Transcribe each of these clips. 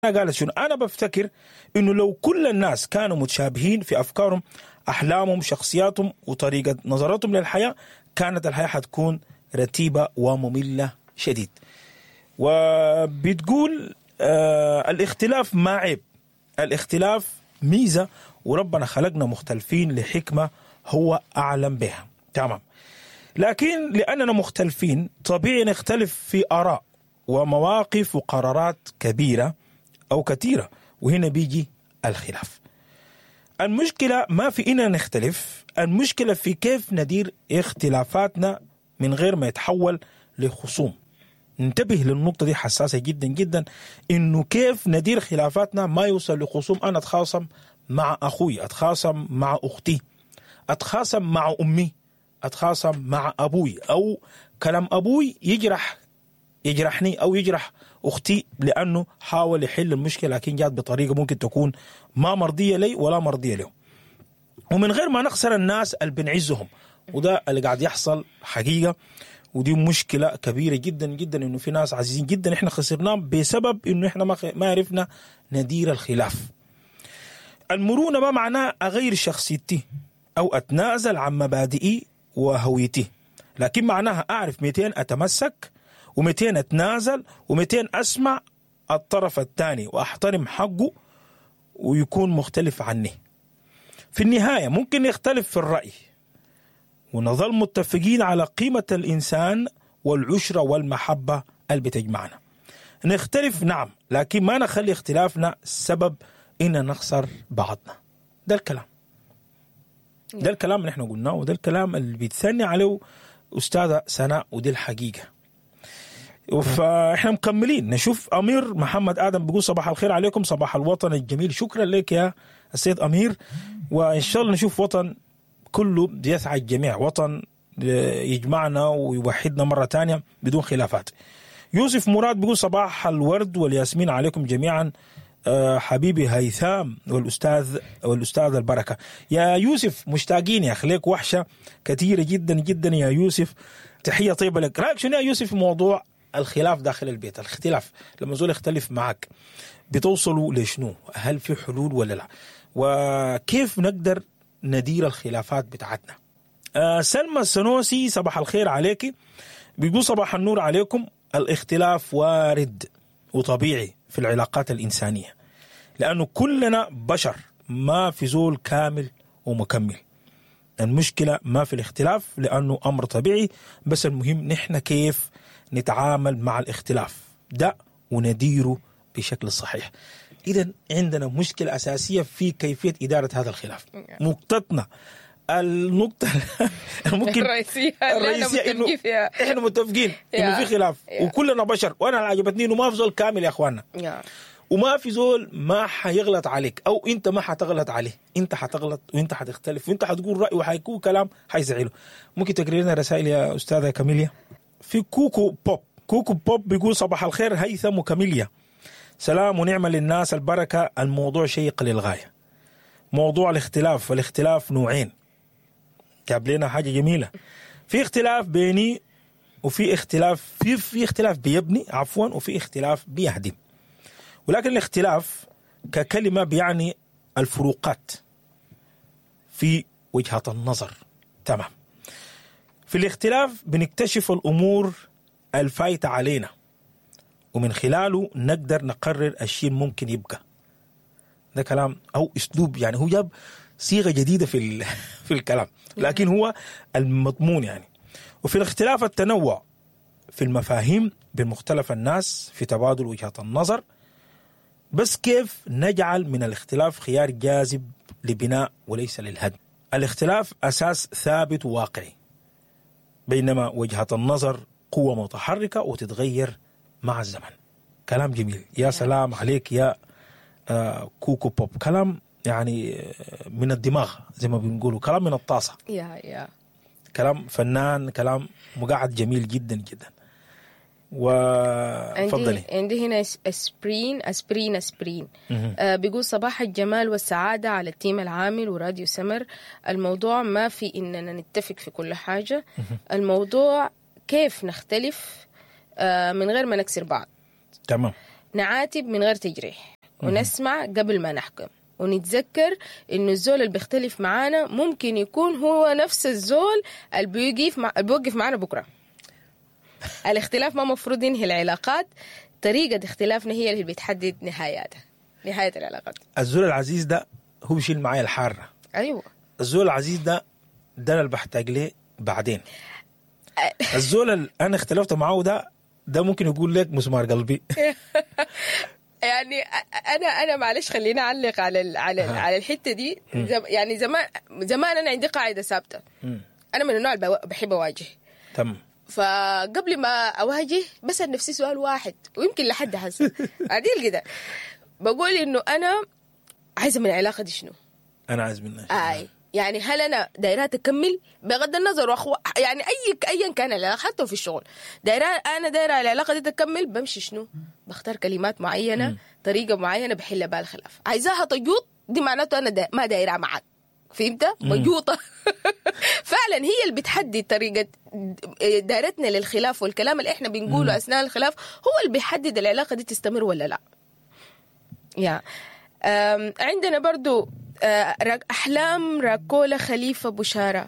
قالت شنو؟ انا بفتكر انه لو كل الناس كانوا متشابهين في افكارهم، احلامهم، شخصياتهم وطريقه نظرتهم للحياة، كانت الحياة حتكون رتيبه وممله شديد. وبتقول الاختلاف ما عيب، الاختلاف ميزة، وربنا خلقنا مختلفين لحكمه هو اعلم بها. تمام. لكن لاننا مختلفين طبيعي نختلف في اراء ومواقف وقرارات كبيرة او كثيرة، وهنا بيجي الخلاف. المشكلة ما في اننا نختلف، المشكلة في كيف ندير اختلافاتنا من غير ما يتحول لخصوم. ننتبه للنقطة دي، حساسة جدا جدا، انه كيف ندير خلافاتنا ما يوصل لخصوم. انا اتخاصم مع اخوي، اتخاصم مع اختي، اتخاصم مع امي، اتخاصم مع ابوي، او كلام ابوي يجرحني او يجرح اختي لانه حاول يحل المشكلة لكن جات بطريقة ممكن تكون ما مرضية لي ولا مرضية له. ومن غير ما نخسر الناس اللي بنعزهم، وده اللي قاعد يحصل حقيقة، ودي مشكلة كبيرة جدا جدا، انه في ناس عزيزين جدا احنا خسرناهم بسبب انه احنا ما عرفنا ندير الخلاف. المرونة ما معناه اغير شخصيتي او اتنازل عن مبادئي وهويتي، لكن معناها اعرف 200 اتمسك و200 اتنازل و200 اسمع الطرف الثاني واحترم حقه ويكون مختلف عني. في النهاية ممكن نختلف في الراي ونظل متفقين على قيمة الانسان والعشرة والمحبة اللي بتجمعنا. نختلف نعم، لكن ما نخلي اختلافنا سبب ان نخسر بعضنا. ده الكلام، ده الكلام اللي احنا قلناه، وده الكلام اللي بيتثني عليه استاذه سناء، ودي الحقيقة. فاحنا مكملين نشوف امير محمد ادم بيقول صباح الخير عليكم، صباح الوطن الجميل. شكرا لك يا السيد امير، وان شاء الله نشوف وطن كله بيسعى الجميع، وطن يجمعنا ويوحدنا مرة ثانية بدون خلافات. يوسف مراد بيقول صباح الورد والياسمين عليكم جميعا، حبيبي هيثام والاستاذ البركة. يا يوسف مشتاقين يا اخي، ليك وحشة كثيرة جدا جدا يا يوسف، تحية طيبة لك. رايك شنو يا يوسف في موضوع الخلاف داخل البيت؟ الاختلاف لما زول يختلف معك بتوصلوا لشنو؟ هل في حلول ولا لا؟ وكيف نقدر ندير الخلافات بتاعتنا؟ سلمى السنوسي صباح الخير عليك، بيقول صباح النور عليكم. الاختلاف وارد وطبيعي في العلاقات الإنسانية، لأنه كلنا بشر، ما في زول كامل ومكمل. المشكلة ما في الاختلاف لأنه أمر طبيعي، بس المهم نحن كيف نتعامل مع الاختلاف ده ونديره بشكل صحيح. إذا عندنا مشكلة أساسية في كيفية إدارة هذا الخلاف. نقطتنا النقطة ممكن الرئيسية اللي إنه إحنا متفقين إنه في خلاف وكلنا بشر، وأنا اللي عجبتني إنه ما في زول كامل يا إخواننا، وما في زول ما حيغلط عليك أو أنت ما حتغلط عليه، أنت حتغلط وأنت حتختلف وأنت حتقول رأي وحيكون كلام حيزعله. ممكن تقري لنا رسائل يا أستاذة كاميليا؟ في كوكو بوب، كوكو بوب بيقول صباح الخير هيثم وكاميليا، سلام ونعمة للناس البركة. الموضوع شيق للغاية، موضوع الاختلاف، والاختلاف نوعين. جاب لنا حاجة جميلة، في اختلاف بيني وفي اختلاف في اختلاف بيبني عفوا، وفي اختلاف بيهدم. ولكن الاختلاف ككلمة بيعني الفروقات في وجهة النظر. تمام. في الاختلاف بنكتشف الأمور الفايتة علينا، ومن خلاله نقدر نقرر الشيء ممكن يبقى. ده كلام أو أسلوب، يعني هو جاب صيغة جديدة في الكلام، لكن هو المضمون يعني. وفي الاختلاف التنوع في المفاهيم بين مختلف الناس في تبادل وجهات النظر، بس كيف نجعل من الاختلاف خيار جاذب لبناء وليس للهدم. الاختلاف أساس ثابت وواقعي، بينما وجهة النظر قوة متحركة وتتغير مع الزمن. كلام جميل، يا سلام عليك يا كوكو بوب. كلام يعني من الدماغ زي ما بنقولوا، كلام من الطاسة، يا كلام فنان، كلام مقعد جميل جدا جدا. وفضلي. عندي هنا اسبرين اسبرين اسبرين بيقول صباح الجمال والسعادة على ال team العامل وراديو سمر. الموضوع ما في إننا نتفق في كل حاجة، الموضوع كيف نختلف من غير ما نكسر بعض. تمام. نعاتب من غير تجريح، ونسمع قبل ما نحكم، ونتذكر انه الزول اللي بيختلف معانا ممكن يكون هو نفس الزول اللي بيوقف معانا بكره. الاختلاف ما مفروض ينهي العلاقات، طريقة اختلافنا هي اللي بتحدد نهاياتها، نهاية العلاقات. الزول العزيز ده هو بيشيل معايا الحارة. ايوه، الزول العزيز ده انا اللي بحتاج ليه بعدين. الزول اللي انا اختلفت معاه ده ممكن يقول لك مسمار قلبي. يعني انا معلش خليني اعلق على على على الحتة دي. يعني زمان انا عندي قاعدة ثابتة، انا من النوع اللي بحب اواجه. تمام. فقبل ما اواجه بسال نفسي سؤال واحد، ويمكن لحد هسه عديل كده بقول انه انا عايزه من العلاقة دي شنو؟ انا عايز منها اي يعني هل انا دايرة تكمل بغض النظر يعني ايا كان العلاقة، حتى في الشغل دايرة، انا دايرة العلاقة دي تكمل، بمشي شنو؟ بختار كلمات معينة، طريقه معينة بحل بها الخلاف. عايزاها تجوط دي معناته انا ما دايرة معك، فهمت؟ مجوطه. فعلا هي اللي بتحدد طريقه دايرتنا للخلاف، والكلام اللي احنا بنقوله اثناء الخلاف هو اللي بيحدد العلاقة دي تستمر ولا لا. يا عندنا برضو أحلام راكولا خليفة بشارة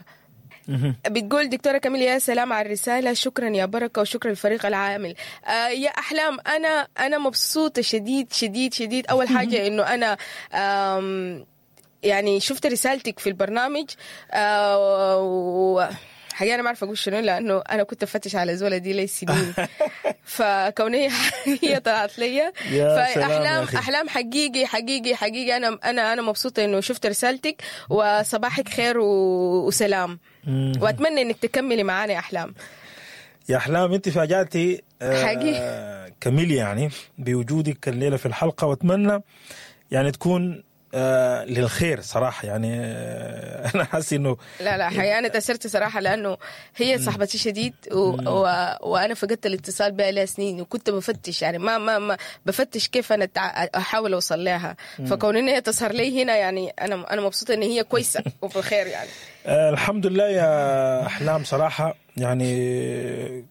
بتقول دكتورة كاميليا يا سلام على الرسالة، شكرا يا بركة وشكرا للفريق العامل. يا أحلام أنا مبسوطة شديد شديد شديد. أول حاجة إنه أنا يعني شفت رسالتك في البرنامج، حقيقة أنا ما أعرف أقول شنو، لأنه أنا كنت أفتش على زولة دي لي سنين، فكوني هي طلعت لي. فأحلام أحلام حقيقي حقيقي حقيقي أنا مبسوطة إنه شفت رسالتك، وصباحك خير وسلام، وأتمنى إنك تكملي معانا يا أحلام. يا أحلام أنت فاجأتي حقيقي كميل يعني بوجودك الليلة في الحلقة، وأتمنى يعني تكون للخير صراحة. يعني أنا حاسس إنه لا حقيقة أنا تأثرت صراحة، لأنه هي صاحبتي شديد وأنا فقدت الاتصال بها لها سنين، وكنت بفتش يعني ما بفتش كيف أنا أحاول أوصل لها، فكون إن هي تظهر لي هنا يعني أنا مبسوطة إن هي كويسة وفي خير يعني. الحمد لله يا أحلام صراحة، يعني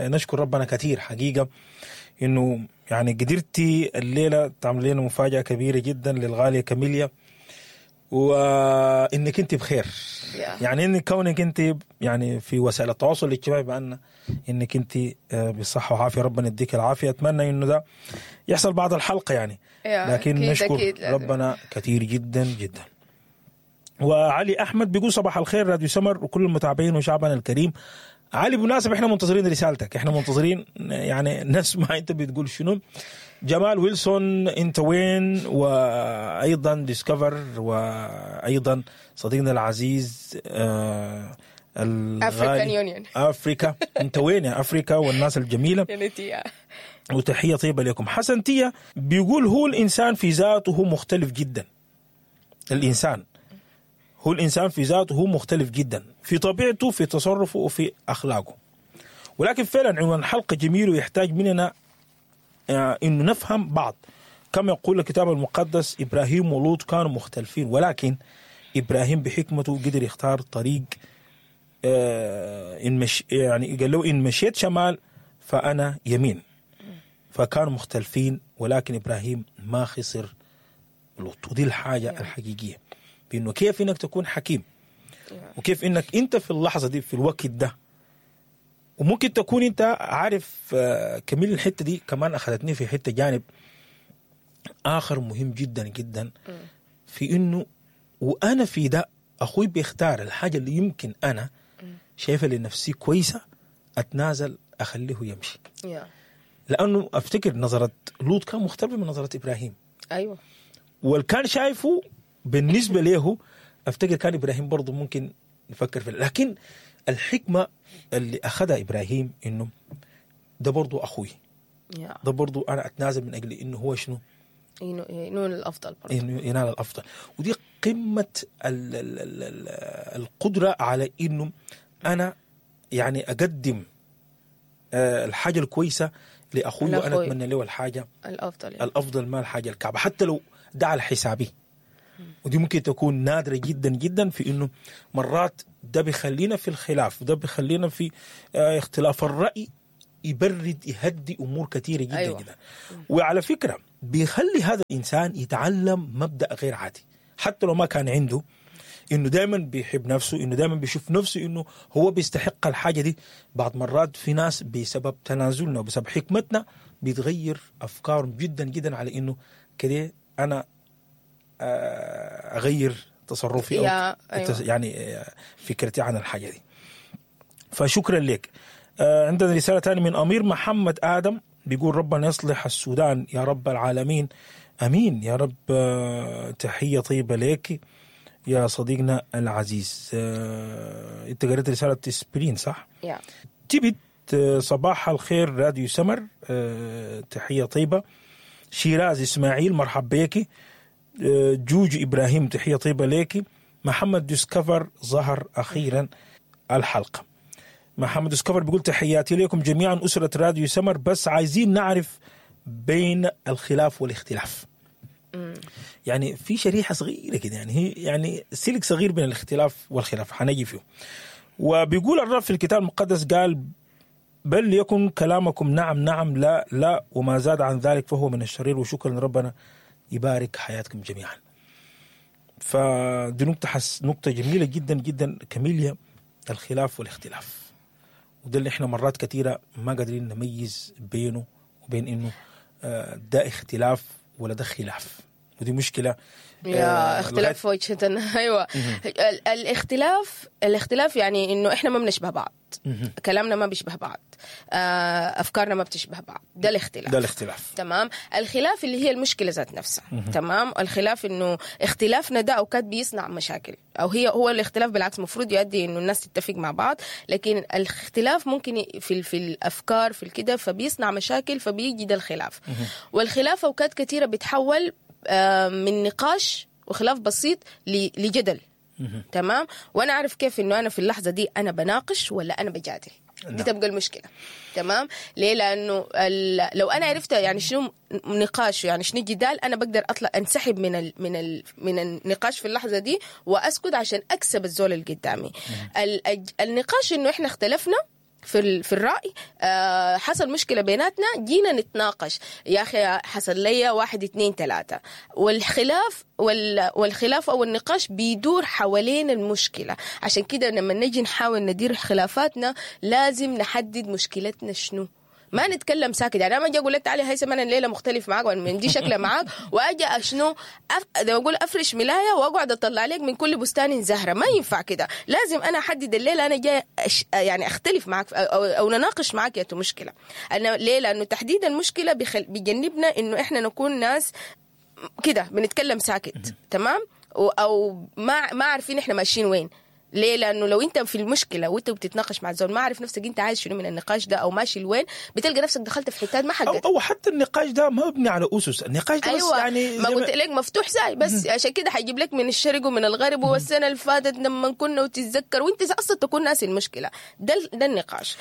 نشكر ربنا كثير حقيقة إنه يعني قدرتي الليلة تعمل لنا مفاجأة كبيرة جدا للغالية كاميليا، وإنك أنت بخير. يعني إن كونك أنت يعني في وسائل التواصل الاجتماعي بأن إنك أنت بصحة وعافية، ربنا يديك العافية. أتمنى إنه ده يحصل بعد الحلقة يعني، لكن أكيد نشكر أكيد ربنا كثير جدا جدا. وعلي أحمد بيقول صباح الخير راديو سمر وكل المتابعين وشعبنا الكريم. علي بالمناسبة احنا منتظرين رسالتك، احنا منتظرين يعني نسمع انت بتقول شنو. جمال ويلسون انت وين؟ وايضا ديسكفر، وايضا صديقنا العزيز African Union افريكا، انت وين يا افريكا والناس الجميلة، وتحية طيبة لكم. حسن تيا بيقول هو الانسان في ذاته مختلف جدا، الانسان هو الإنسان في ذاته هو مختلف جدا في طبيعته، في تصرفه، وفي أخلاقه، ولكن فعلا عنوان الحلقة جميل ويحتاج مننا إنه نفهم بعض. كما يقول الكتاب المقدس إبراهيم ولوط كانوا مختلفين، ولكن إبراهيم بحكمته قدر يختار طريق إن مش يعني قال له إن مشيت شمال فأنا يمين، فكانوا مختلفين ولكن إبراهيم ما خسر لوط. ودي الحاجة الحقيقية، بأنه كيف إنك تكون حكيم، وكيف إنك أنت في اللحظة دي في الوقت ده، وممكن تكون أنت عارف. كميل الحتة دي كمان أخذتني في حتة جانب آخر مهم جدا جدا، في إنه وأنا في ده أخوي بيختار الحاجة اللي يمكن أنا شايفة لنفسي كويسة أتنازل أخليه يمشي. لأنه أفتكر نظرة لوط كان مختلفة من نظرة إبراهيم. أيوة، والكان شايفه بالنسبة له أفتكر كان إبراهيم برضو ممكن نفكر فيه، لكن الحكمة اللي أخذها إبراهيم إنه ده برضو أخوي، ده برضو أنا أتنازل من أجل إنه هو شنو ينال الأفضل، برضو إنه ينال الأفضل. ودي قمة القدرة على إنه أنا يعني أقدم الحاجة الكويسة لأخوي، وأنا أتمنى له الحاجة الأفضل، يعني الأفضل ما الحاجة الكعبة، حتى لو ده على حسابي. ودي ممكن تكون نادرة جدا جدا، في إنه مرات ده بيخلينا في الخلاف، وده بيخلينا في اختلاف الرأي، يبرد، يهدي امور كثيرة جدا. أيوة. جدا. وعلى فكرة بيخلي هذا الانسان يتعلم مبدا غير عادي، حتى لو ما كان عنده، انه دائما بيحب نفسه، انه دائما بيشوف نفسه انه هو بيستحق الحاجة دي. بعض مرات في ناس بسبب تنازلنا وبسبب حكمتنا بيتغير افكارهم جدا جدا على انه كده انا اغير تصرفي او أيوة. يعني فكرتي عن الحاجة دي. فشكرا لك. عندنا رسالة ثانية من امير محمد ادم، بيقول ربنا يصلح السودان يا رب العالمين، امين يا رب. تحية طيبة لك يا صديقنا العزيز. انت قريت رسالة سبرين صح؟ يا تبت صباح الخير راديو سمر، تحية طيبة. شيراز اسماعيل مرحب بيكي. جوج ابراهيم تحية طيبة ليكي. محمد ديسكفر ظهر اخيرا الحلقة. محمد ديسكفر بيقول تحياتي لكم جميعا اسره راديو سمر، بس عايزين نعرف بين الخلاف والاختلاف. يعني في شريحة صغيرة كده، يعني هي يعني سلك صغير بين الاختلاف والخلاف حنجي فيه. وبيقول الرب في الكتاب المقدس قال بل ليكن كلامكم نعم نعم لا لا، وما زاد عن ذلك فهو من الشرير. وشكرا ربنا يبارك حياتكم جميعا. فدي نقطة نقطة جميلة جدا جدا كميليا، الخلاف والاختلاف، وده اللي احنا مرات كثيرة ما قادرين نميز بينه وبين انه ده اختلاف ولا ده خلاف، ودي مشكلة. يا اختلاف في وجهة. ايوه، الاختلاف يعني انه احنا ما بنشبه بعض، كلامنا ما بيشبه بعض، افكارنا ما بتشبه بعض، ده الاختلاف. ده الاختلاف. تمام. الخلاف اللي هي المشكلة ذات نفسها. تمام. الخلاف انه اختلافنا ده اوقات بيصنع مشاكل، او هو الاختلاف بالعكس المفروض يؤدي انه الناس تتفق مع بعض، لكن الاختلاف ممكن في الافكار في الكده، فبيصنع مشاكل، فبيجي ده الخلاف. والخلاف اوقات كثيرة بيتحول من نقاش وخلاف بسيط لجدل. تمام. وانا اعرف كيف انه انا في اللحظة دي انا بناقش ولا انا بجادل. دي تبقى المشكلة. تمام. ليه؟ لانه لو انا عرفت يعني شنو نقاش يعني شنو جدال، انا بقدر اطلع انسحب من من النقاش في اللحظة دي واسكت عشان اكسب الزول اللي قدامي. النقاش انه احنا اختلفنا في الرأي، حصل مشكلة بيناتنا، جينا نتناقش، يا أخي حصل لي 1 2 3. والخلاف والخلاف أو النقاش بيدور حوالين المشكلة. عشان كده لما نجي نحاول ندير خلافاتنا لازم نحدد مشكلتنا شنو، ما نتكلم ساكت. يعني انا ما اجي اقول لك تعالي هيثم انا الليلة مختلف معاك وانا من دي شكله معاك، واجي اشنو اقول افرش ملايه واقعد اطلع لك من كل بستان زهره، ما ينفع كده. لازم انا احدد الليلة انا جاي يعني اختلف معاك او نناقش معاك يا مشكلة. انا ليه؟ لانه تحديد المشكلة بيجنبنا انه احنا نكون ناس كده بنتكلم ساكت. تمام. او ما عارفين احنا ماشيين وين. ليه؟ لأنه لو أنت في المشكلة وأنت بتتناقش مع الزول ما عارف نفسك أنت عايز شنو من النقاش ده أو ماشي لوين، بتلقى نفسك دخلت في حتات ما حقتك. أو حتى النقاش ده ما مبني على أسس، النقاش ده أيوة. بس يعني ما قلت لك مفتوح ساي بس. عشان كده حيجيب لك من الشرق ومن الغرب، والسنة اللي فاتت لما كنا وتتذكر وأنت أصلا تكون ناسي المشكلة. ده النقاش.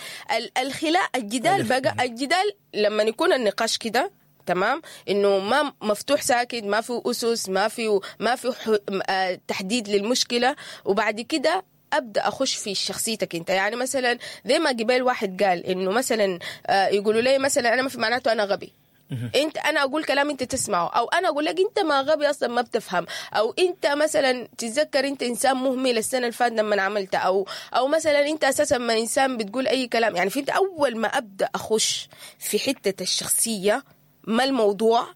الخلاف الجدال بقى، الجدال لما يكون النقاش كده تمام، انه ما مفتوح ساكت، ما في اسس، ما في تحديد للمشكلة، وبعد كده ابدا اخش في شخصيتك انت. يعني مثلا زي ما قبل واحد قال انه مثلا يقولوا لي مثلا انا ما في معناته انا غبي، انت انا اقول كلام انت تسمعه، او انا اقول لك انت ما غبي اصلا ما بتفهم، او انت مثلا تتذكر انت انسان مهمل السنة اللي فاتت لما عملت، او مثلا انت اساسا ما انسان بتقول اي كلام. يعني في انت اول ما ابدا اخش في حتة الشخصية ما الموضوع،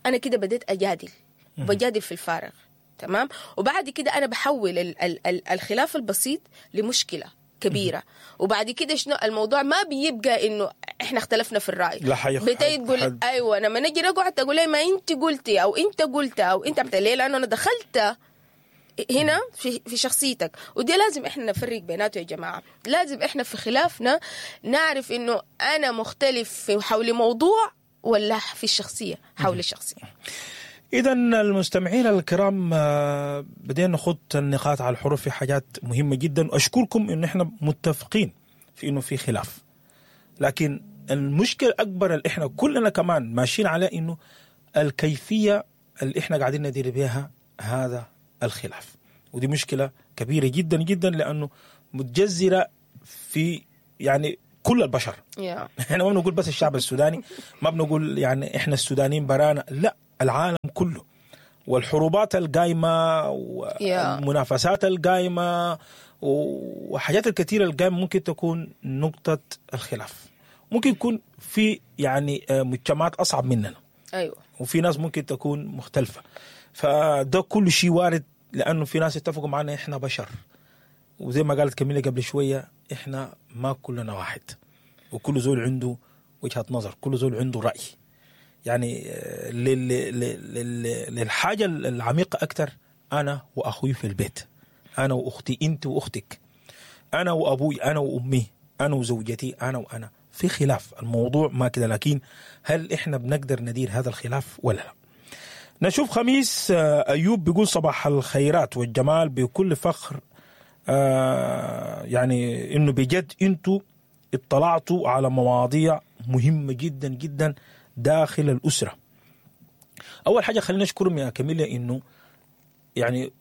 أنا كده بديت أجادل، بجادل في الفارغ. تمام. وبعد كده أنا بحول ال ال ال الخلاف البسيط لمشكلة كبيرة. وبعد كده شنو الموضوع ما بيبقى إنه إحنا اختلفنا في الرأي، بتيجي تقول أيوة لما نجي نقعد تقول لي ما أنت قلتي أو أنت قلت أو أنت عملت. ليه؟ لأنه أنا دخلت هنا في شخصيتك، ودي لازم احنا نفرق بيناته يا جماعة. لازم احنا في خلافنا نعرف إنه أنا مختلف في حول موضوع ولا في الشخصية، حول الشخصية. إذا المستمعين الكرام بدينا نخط النقاط على الحروف في حاجات مهمة جدا، وأشكركم إن إحنا متفقين في إنه في خلاف، لكن المشكلة الأكبر اللي إحنا كلنا كمان ماشيين على إنه الكيفية اللي إحنا قاعدين ندير بها هذا الخلاف، ودي مشكلة كبيرة جدا جدا، لأنه متجذرة في يعني كل البشر. يا احنا ما بنقول بس الشعب السوداني، ما بنقول يعني احنا السودانيين برانا، لا، العالم كله، والحروبات القايمة والمنافسات القايمة وحاجات الكثيرة القايمة ممكن تكون نقطة الخلاف. ممكن يكون في يعني مجتمعات اصعب مننا. ايوه، وفي ناس ممكن تكون مختلفة، فده كل شيء وارد، لانه في ناس اتفقوا معنا احنا بشر، وزي ما قالت كميلة قبل شوية احنا ما كلنا واحد، وكل زول عنده وجهه نظر، كل زول عنده راي. يعني للحاجة العميقة اكثر، انا واخوي في البيت، انا واختي، انت واختك، انا وابوي، انا وامي، انا وزوجتي، انا وانا، في خلاف. الموضوع ما كده، لكن هل احنا بنقدر ندير هذا الخلاف ولا لا؟ نشوف خميس ايوب بيقول صباح الخيرات والجمال، بكل فخر يعني انه بجد انتوا اطلعتوا على مواضيع مهمة جدا جدا داخل الاسرة. اول حاجة خلينا نشكرهم يا كاميليا انه يعني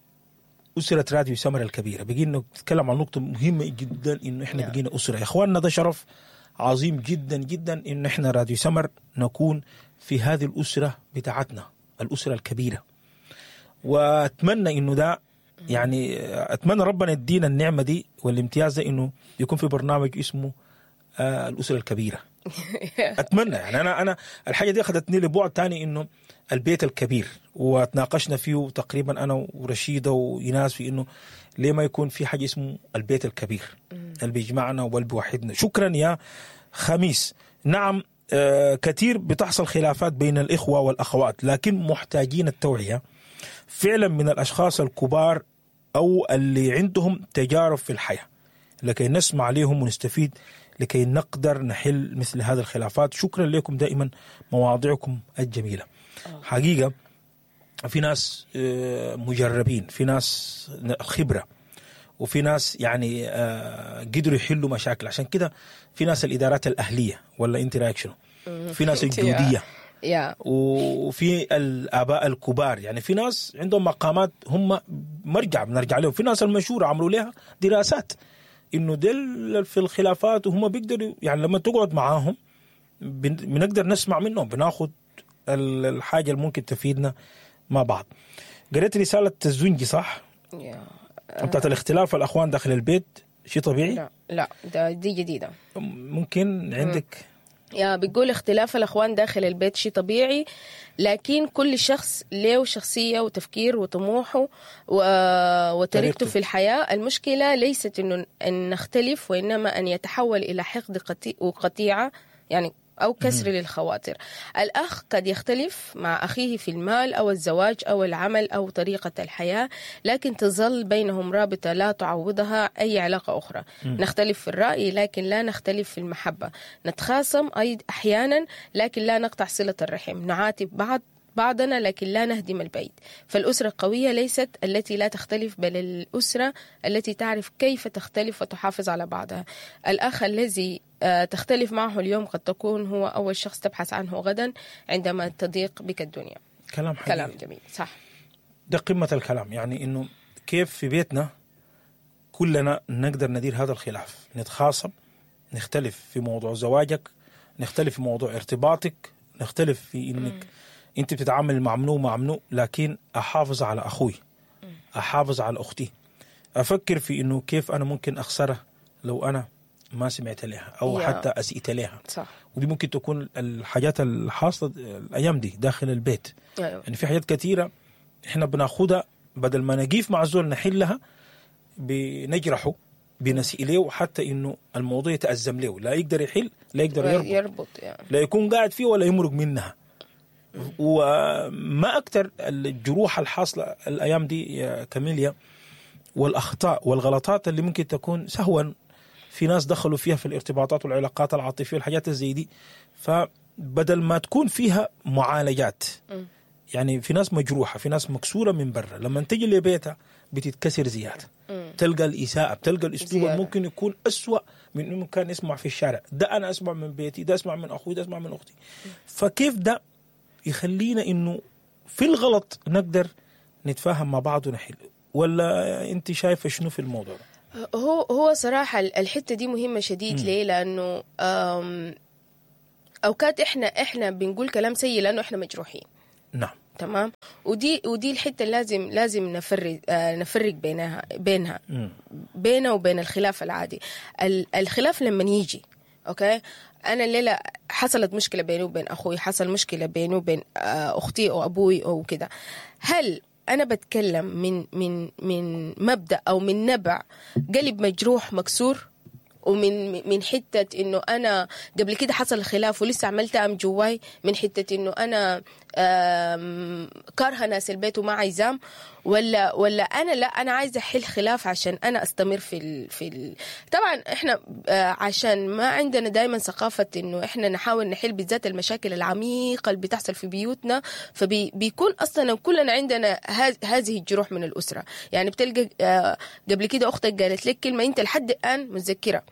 اسره راديو سمر الكبيرة، بقينا نتكلم عن نقطة مهمة جدا، انه احنا بقينا اسره يا اخواننا. ده شرف عظيم جدا جدا انه احنا راديو سمر نكون في هذه الاسرة بتاعتنا، الاسرة الكبيرة. واتمنى انه ده يعني اتمنى ربنا يدينا النعمة دي والامتياز ده، انه يكون في برنامج اسمه الاسرة الكبيرة. اتمنى يعني انا الحاجة دي اخذتني لبعد ثاني، انه البيت الكبير، وتناقشنا فيه تقريبا انا ورشيده وايناس في انه ليه ما يكون في حاجة اسمه البيت الكبير اللي بيجمعنا واللي بيوحدنا. شكرا يا خميس. نعم، كثير بتحصل خلافات بين الاخوة والاخوات، لكن محتاجين التوعية فعلا من الاشخاص الكبار او اللي عندهم تجارب في الحياة، لكي نسمع لهم ونستفيد، لكي نقدر نحل مثل هذه الخلافات. شكرا لكم دائما، مواضيعكم الجميلة. حقيقة في ناس مجربين، في ناس خبرة، وفي ناس يعني قدروا يحلوا مشاكل. عشان كده في ناس الإدارات الأهلية، ولا أنت رأيك شنو؟ في ناس الجودية، وفي الآباء الكبار، يعني في ناس عندهم مقامات هم مرجع بنرجع لهم. في ناس المشهورة عملوا لها دراسات إنه دل في الخلافات، وهم بيقدروا يعني لما تقعد معاهم بنقدر نسمع منهم، بناخد الحاجة اللي ممكن تفيدنا مع بعض. قريت رسالة الزنجي صح؟ بتاعت الاختلاف الأخوان داخل البيت، شيء طبيعي؟ لا لا، ده دي جديدة. ممكن عندك يا بتقول اختلاف الأخوان داخل البيت شيء طبيعي، لكن كل شخص له شخصية وتفكير وطموحه وطريقته في الحياة. المشكلة ليست إنه أن نختلف، وإنما أن يتحول إلى حقد وقطيعة، يعني أو كسر للخواطر. الأخ قد يختلف مع أخيه في المال أو الزواج أو العمل أو طريقة الحياة، لكن تظل بينهم رابطة لا تعوضها أي علاقة أخرى. نختلف في الرأي لكن لا نختلف في المحبة. نتخاصم أحيانا لكن لا نقطع صلة الرحم. نعاتب بعضنا لكن لا نهدم البيت. فالأسرة القوية ليست التي لا تختلف، بل الأسرة التي تعرف كيف تختلف وتحافظ على بعضها. الأخ الذي تختلف معه اليوم قد تكون هو أول شخص تبحث عنه غدا عندما تضيق بك الدنيا. كلام حقيقي. كلام جميل، صح. ده قمة الكلام، يعني إنه كيف في بيتنا كلنا نقدر ندير هذا الخلاف، نتخاصم، نختلف في موضوع زواجك، نختلف في موضوع ارتباطك، نختلف في إنك انت بتتعامل مع منو مع منو، لكن احافظ على اخوي، احافظ على اختي، افكر في انه كيف انا ممكن اخسرها لو انا ما سمعت لها او حتى اسئت لها. صح. ودي ممكن تكون الحاجات الحاصلة الايام دي داخل البيت. أيوة. يعني في حاجات كثيرة احنا بناخدها بدل ما نقيف مع الزول نحلها بنجرحه، بنسيء له، حتى انه الموضوع يتأزم له، لا يقدر يحل، لا يقدر يربط يعني. لا يكون قاعد فيه ولا يمرق منها. وما أكثر الجروح الحاصلة الأيام دي يا كاميليا، والأخطاء والغلطات اللي ممكن تكون سهوا في ناس دخلوا فيها في الارتباطات والعلاقات العاطفية والحاجات زي دي. فبدل ما تكون فيها معالجات، يعني في ناس مجروحة، في ناس مكسورة من برا، لما تجي لبيتها بتتكسر زيادة، تلقى الإساءة، بتلقى الأسلوب ممكن يكون أسوأ من إنه كان يسمع في الشارع. ده أنا أسمع من بيتي، ده أسمع من أخوي، ده أسمع من أختي. فكيف ده يخلينا إنه في الغلط نقدر نتفاهم مع بعض ونحل؟ ولا أنت شايفة شنو في الموضوع ده؟ هو صراحة الحتة دي مهمة شديد. ليه؟ لأنه أوقات إحنا بنقول كلام سيء لأنه إحنا مجروحين. نعم تمام. ودي الحتة اللي لازم نفرق بينها بينه وبين الخلاف العادي. الخلاف لما يجي، okay، انا الليلة حصلت مشكلة بيني وبين اخوي، حصل مشكلة بيني وبين اختي او ابوي او كده، هل انا بتكلم من من من مبدا او من نبع قلب مجروح مكسور، ومن من حتة انه انا قبل كده حصل خلاف ولسه عملت جواي، من حتة انه انا كارهه ناس البيت وما عايزام، ولا انا لا انا عايزه احل خلاف عشان انا استمر في طبعا احنا عشان ما عندنا دائما ثقافة انه احنا نحاول نحل بالذات المشاكل العميقة اللي بتحصل في بيوتنا، فبيكون اصلا كلنا عندنا هذه الجروح من الاسرة. يعني بتلقى قبل كده اختك قالت لك كلمة انت لحد الان متذكرها،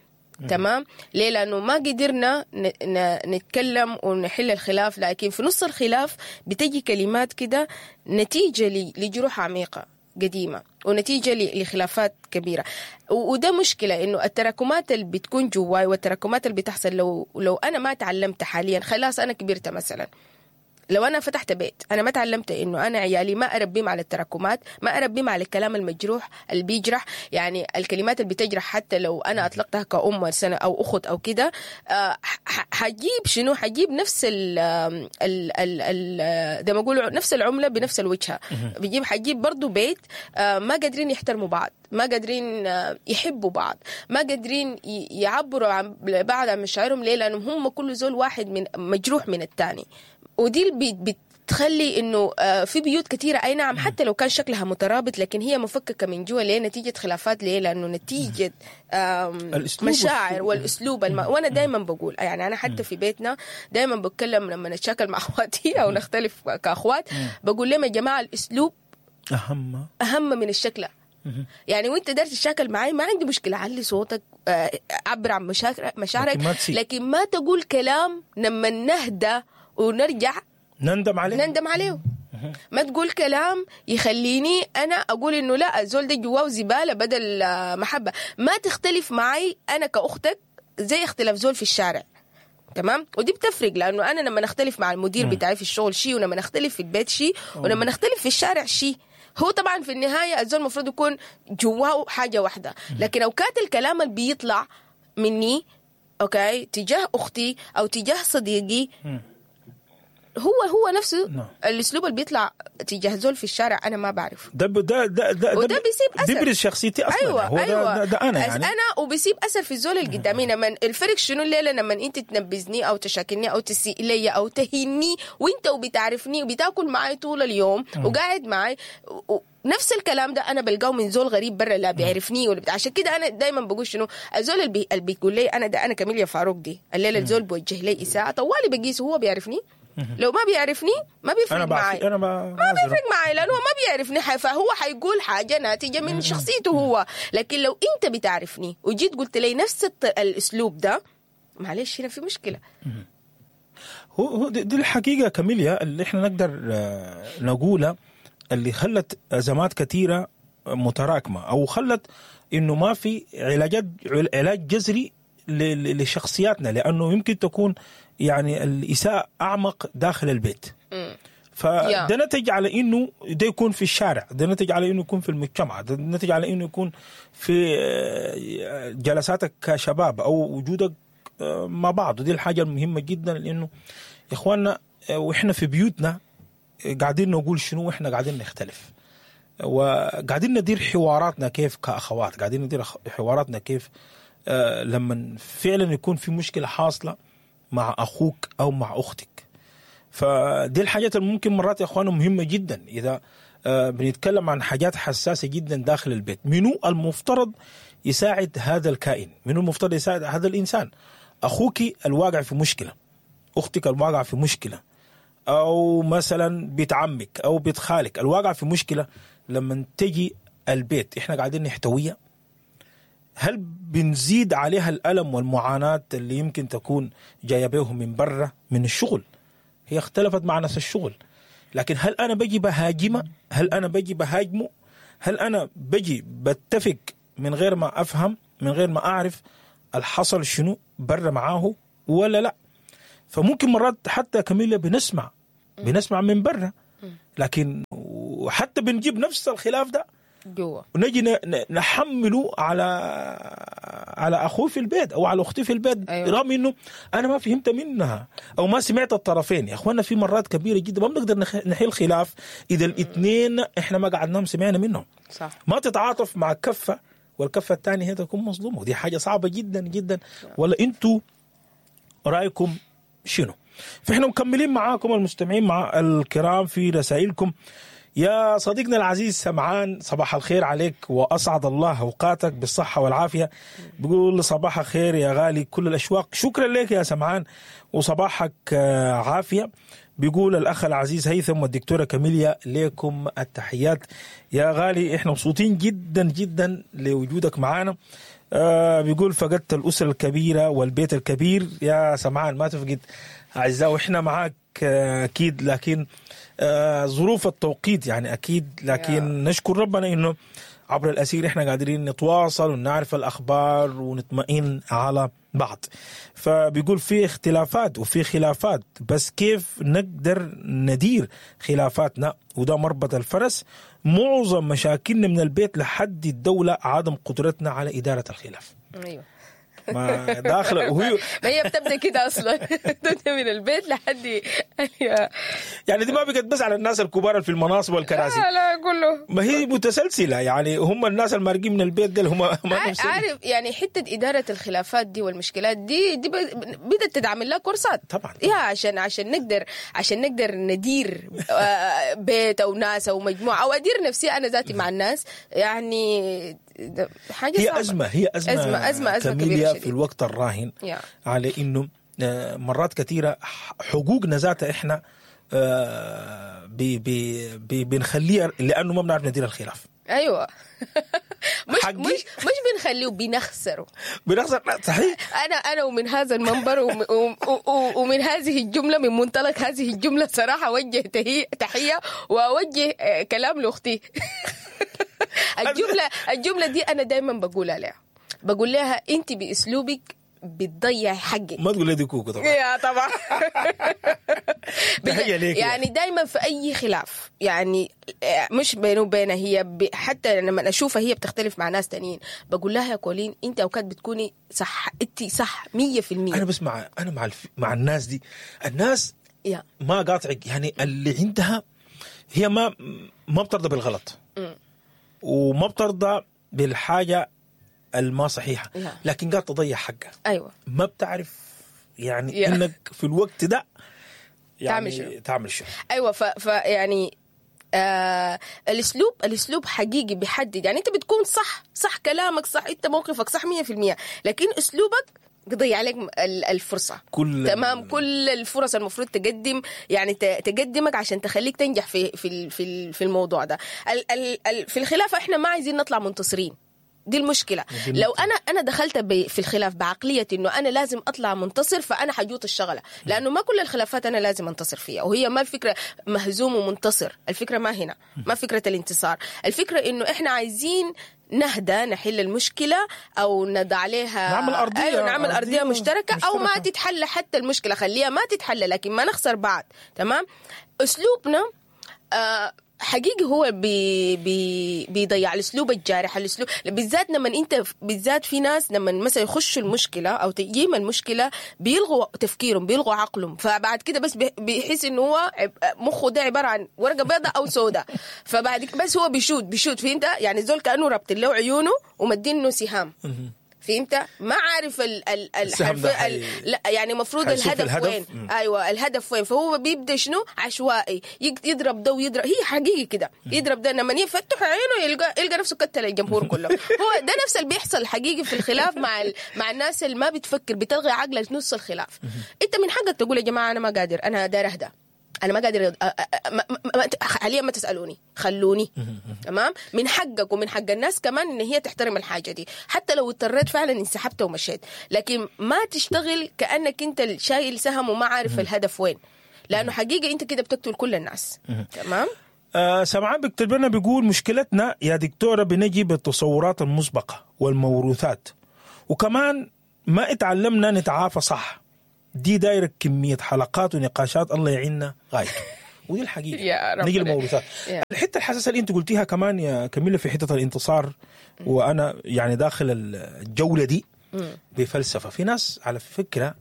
تمام؟ ليه؟ لأنه ما قدرنا نتكلم ونحل الخلاف، لكن في نص الخلاف بتجي كلمات كده نتيجة لجروح عميقة قديمة ونتيجة لخلافات كبيرة. وده مشكلة، إنه التراكمات اللي بتكون جواي والتراكمات اللي بتحصل لو أنا ما تعلمت حاليا، خلاص أنا كبرت مثلا، لو أنا فتحت بيت أنا ما تعلمت إنه أنا عيالي ما أربيهم على التراكمات، ما أربيهم على الكلام المجروح اللي بيجرح، يعني الكلمات اللي بتجرح حتى لو أنا أطلقتها كأم سنة أو أخت أو كده، حجيب شنو؟ حجيب نفس ال ال ال زي ما أقولوا نفس العملة بنفس الوجهة. حجيب برضو بيت ما قادرين يحترموا بعض، ما قادرين يحبوا بعض، ما قادرين يعبروا عن بعض عن مشاعرهم. ليه؟ لأنهم هم كل زول واحد من مجروح من الثاني. ودي بتخلي انه في بيوت كثيرة اي نعم حتى لو كان شكلها مترابط لكن هي مفككة من جوا. ليه؟ نتيجة خلافات. ليه؟ لانه نتيجة مشاعر والاسلوب وانا دائما بقول، يعني انا حتى في بيتنا دائما بتكلم لما نتشاكل مع اخواتي او نختلف كاخوات، بقول لهم يا جماعة الاسلوب اهم من الشكل. يعني وانت دارت تشاكل معي ما عندي مشكلة، علي صوتك، عبر عن مشاعرك، لكن ما تقول كلام لما نهدى ونرجع نندم عليه. ما تقول كلام يخليني انا اقول انه لا الزول ده جواه زبالة بدل محبة. ما تختلف معي انا كاختك زي اختلاف زول في الشارع، تمام؟ ودي بتفرق، لانه انا لما نختلف مع المدير بتاعي في الشغل شيء، ولما نختلف في البيت شيء، ولما نختلف في الشارع شيء. هو طبعا في النهاية الزول المفروض يكون جواه حاجة واحدة، لكن اوقات الكلام اللي بيطلع مني okay تجاه اختي او تجاه صديقي هو نفسه. نعم. الاسلوب اللي بيطلع تجاه زول في الشارع انا ما بعرف ده ده ده ده وده بيسيب اثر، بيبرز شخصيتي اصلا. أيوة هو أيوة. ده انا يعني انا وبيسيب اثر في الزول اللي قدامي. لما الفرق شنو الليلة لما انت تنبذني او تشاكلني او تسيء لي او تهيني وانت وبتعرفني وبتاكل معي طول اليوم وقاعد معي نفس الكلام ده انا بلقاه من زول غريب برا لا بيعرفني ولا عشان كده انا دايما بقول شنو الزول اللي بيقول لي انا ده انا كاميليا فاروق دي الليلة الزول بوجه لي اساءه طوالي بقيسه هو بيعرفني. لو ما بيعرفني ما بيفرق معي، أنا ما بيفرق معي لأنه ما بيعرفني، فهو حيقول حاجة ناتجة من شخصيته هو. لكن لو أنت بتعرفني وجيت قلت لي نفس الأسلوب ده، معلش هنا في مشكلة. هو دي الحقيقة كاميليا اللي إحنا نقدر نقولها، اللي خلت أزمات كثيرة متراكمة، أو خلت إنه ما في علاج جذري لشخصياتنا، لأنه يمكن تكون يعني الإساءة أعمق داخل البيت. فده نتج على إنه ده يكون في الشارع، ده نتج على إنه يكون في المجتمع، ده نتج على إنه يكون في جلساتك كشباب أو وجودك مع بعض. ودي الحاجة المهمة جدا، لأنه يا إخواننا وإحنا في بيوتنا قاعدين نقول شنو وإحنا قاعدين نختلف، وقاعدين ندير حواراتنا كيف كأخوات، قاعدين ندير حواراتنا كيف لما فعلا يكون في مشكلة حاصلة مع أخوك أو مع أختك. فدي الحاجات اللي ممكن مرات يا أخوانه مهمة جدا إذا بنتكلم عن حاجات حساسة جدا داخل البيت. منو المفترض يساعد هذا الكائن؟ منو المفترض يساعد هذا الإنسان؟ أخوك الواقع في مشكلة، أختك الواقع في مشكلة، أو مثلا بيت عمك أو بيت خالك الواقع في مشكلة، لما تجي البيت إحنا قاعدين نحتويها؟ هل بنزيد عليها الألم والمعاناة اللي يمكن تكون جاية بيهم من برا من الشغل؟ هي اختلفت مع ناس الشغل، لكن هل أنا بجي بهاجمه؟ هل أنا بجي بهاجمه؟ هل أنا بجي بتفق من غير ما افهم، من غير ما اعرف الحصل شنو برا معاه ولا لا. فممكن مرات حتى كميلة بنسمع من برا، لكن وحتى بنجيب نفس الخلاف ده جوا ونجي نحمله على اخوي في البيت او على اختي في البيت. أيوة. رغم انه انا ما فهمت منها او ما سمعت الطرفين. يا اخوانا في مرات كبيرة جدا ما بنقدر نحل خلاف اذا الاثنين احنا ما قعدناهم سمعنا منهم. صح. ما تتعاطف مع كفه والكفه الثانية هي تكون مظلومة، ودي حاجة صعبة جدا جدا. ولا انتوا رايكم شنو؟ فاحنا مكملين معاكم المستمعين مع الكرام في رسائلكم. يا صديقنا العزيز سمعان، صباح الخير عليك وأسعد الله أوقاتك بالصحة والعافية. بيقول صباح الخير يا غالي كل الأشواق. شكرا لك يا سمعان وصباحك عافية. بيقول الأخ العزيز هيثم والدكتورة كاميليا لكم التحيات يا غالي، احنا مبسوطين جدا جدا لوجودك معانا. بيقول فقدت الأسرة الكبيرة والبيت الكبير. يا سمعان ما تفقد أعزائي وإحنا معاك أكيد، لكن ظروف التوقيت يعني أكيد، لكن نشكر ربنا إنه عبر الأسير إحنا قادرين نتواصل ونعرف الأخبار ونطمئن على بعض. فبيقول في اختلافات وفي خلافات، بس كيف نقدر ندير خلافاتنا؟ وده مربط الفرس. معظم مشاكلنا من البيت لحد الدولة عدم قدرتنا على إدارة الخلاف. أيوة. ما داخله وهي ما هي بتبدا كده اصلا، بتبدا من البيت لحد يعني دي ما بقت بس على الناس الكبار في المناصب والكراسي، لا لا كله، ما هي متسلسله يعني. هم الناس المارقين من البيت دول هم ما عارف يعني. حتة ادارة الخلافات دي والمشكلات دي بدات تدعم لها كورسات طبعا يا عشان نقدر ندير بيت او ناس او مجموعة او ادير نفسي انا ذاتي مع الناس. يعني حاجة هي صعبة. ازمة، هي ازمة ازمة ازمة كبيرة في الوقت الراهن. على انه مرات كثيرة حقوقنا ذاتها احنا بي بي بي بنخليها لانه ما بنعرف ندير الخلاف. ايوه. مش مش مش بنخليه، بنخسره. بنخسر صحيح. انا ومن هذا المنبر ومن هذه الجملة، من منطلق هذه الجملة صراحة اوجه تحية واوجه كلام لاختي. الجملة دي انا دائما بقولها لها، بقول لها انت باسلوبك بتضيع حقك. ما تقول لي دي كوكو طبعا. يا طبعا. تحية ليك. يعني دايما في اي خلاف، يعني مش بينه وبينها هي، حتى لما اشوفها هي بتختلف مع ناس تانيين بقول لها يا كولين انت اوقات بتكوني صح، انت صح 100%. انا بس مع انا مع مع الناس دي، الناس ما قاطعك يعني، اللي عندها هي ما بترضى بالغلط وما بترضى بالحاجة الما صحيحه، لكن قاعد تضيع حقها. ايوه. ما بتعرف يعني انك في الوقت ده يعني تعمل شو. ايوه. ف يعني الاسلوب حقيقي بيحدد. يعني انت بتكون صح كلامك صح، انت موقفك صح 100%، لكن اسلوبك بيضيع عليك الفرصة. تمام. كل الفرص المفروض تقدم، يعني تقدمك عشان تخليك تنجح في في في في الموضوع ده. في الخلاف احنا ما عايزين نطلع منتصرين، دي المشكلة. لو أنا دخلت في الخلاف بعقلية إنه أنا لازم أطلع منتصر، فأنا حجوط الشغلة، لأنه ما كل الخلافات أنا لازم أنتصر فيها. وهي ما الفكرة مهزوم ومنتصر، الفكرة ما هنا، ما فكرة الانتصار. الفكرة إنه إحنا عايزين نهدى، نحل المشكلة أو نضع عليها، نعمل أرضية. أيوة، نعمل أرضية مشتركة، أو ما تتحل حتى المشكلة، خليها ما تتحل لكن ما نخسر بعض. تمام. أسلوبنا حقيقي هو بي بي بيضيع الاسلوب الجارح، الاسلوب بالذات لما انت بالذات في ناس لما مثلا يخشوا المشكلة او تجيهم المشكلة بيلغوا تفكيرهم، بيلغوا عقلهم، فبعد كده بس بيحس انه هو مخه ده عبارة عن ورقة بيضاء او سوداء، فبعد بس هو بيشوت فهمت يعني؟ زول كانه ربط له عيونه ومدينة سهام، فهمت؟ ما عارف ال لا يعني المفروض الهدف وين. ايوه الهدف وين، فهو بيبدا شنو عشوائي، يضرب ده ويضرب، هي حقيقي كده يضرب ده، لما يفتح عينه يلقى نفسه كتل الجمهور كله. هو ده نفس اللي بيحصل حقيقي في الخلاف مع الناس اللي ما بتفكر، بتلغي عقلك نص الخلاف. انت من حقك تقول يا جماعة انا ما قادر، انا داير اهدى، أنا ما قادر، حاليا ما تسألوني، خلوني. تمام؟ من حقك ومن حق الناس كمان إن هي تحترم الحاجة دي، حتى لو اضطريت فعلا انسحبت ومشيت، لكن ما تشتغل كأنك أنت شايل سهم وما عارف الهدف وين، لأنه حقيقة أنت كده بتقتل كل الناس. تمام؟ سمعان بيكتب لنا بيقول مشكلتنا يا دكتورة بنجي بالتصورات المسبقة والموروثات، وكمان ما اتعلمنا نتعافى صح. دي دايرة كمية حلقات ونقاشات، الله يعيننا غايته. ودي الحقيقة. يا رب. نيجي للموروثات. يا. الحتة الحساسة اللي انت قلتيها كمان يا كميلة في حتة الانتصار، وانا يعني داخل الجولة دي بفلسفة. في ناس على فكرة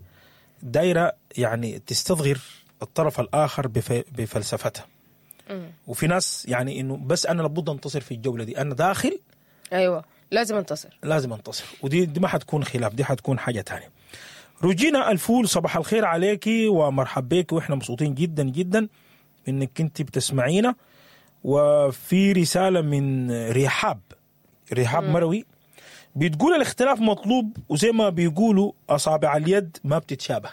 دايرة يعني تستصغر الطرف الاخر بفلسفتها، وفي ناس يعني انه بس انا لابد انتصر في الجولة دي، انا داخل ايوه لازم انتصر. لازم انتصر، ودي دي ما حتكون خلاف، دي حتكون حاجة تانية. روجينا الفول، صباح الخير عليكي ومرحب بك، واحنا مبسوطين جدا جدا انك انت بتسمعينا. وفي رسالة من رحاب، رحاب مروي، بتقول الاختلاف مطلوب، وزي ما بيقولوا اصابع اليد ما بتتشابه،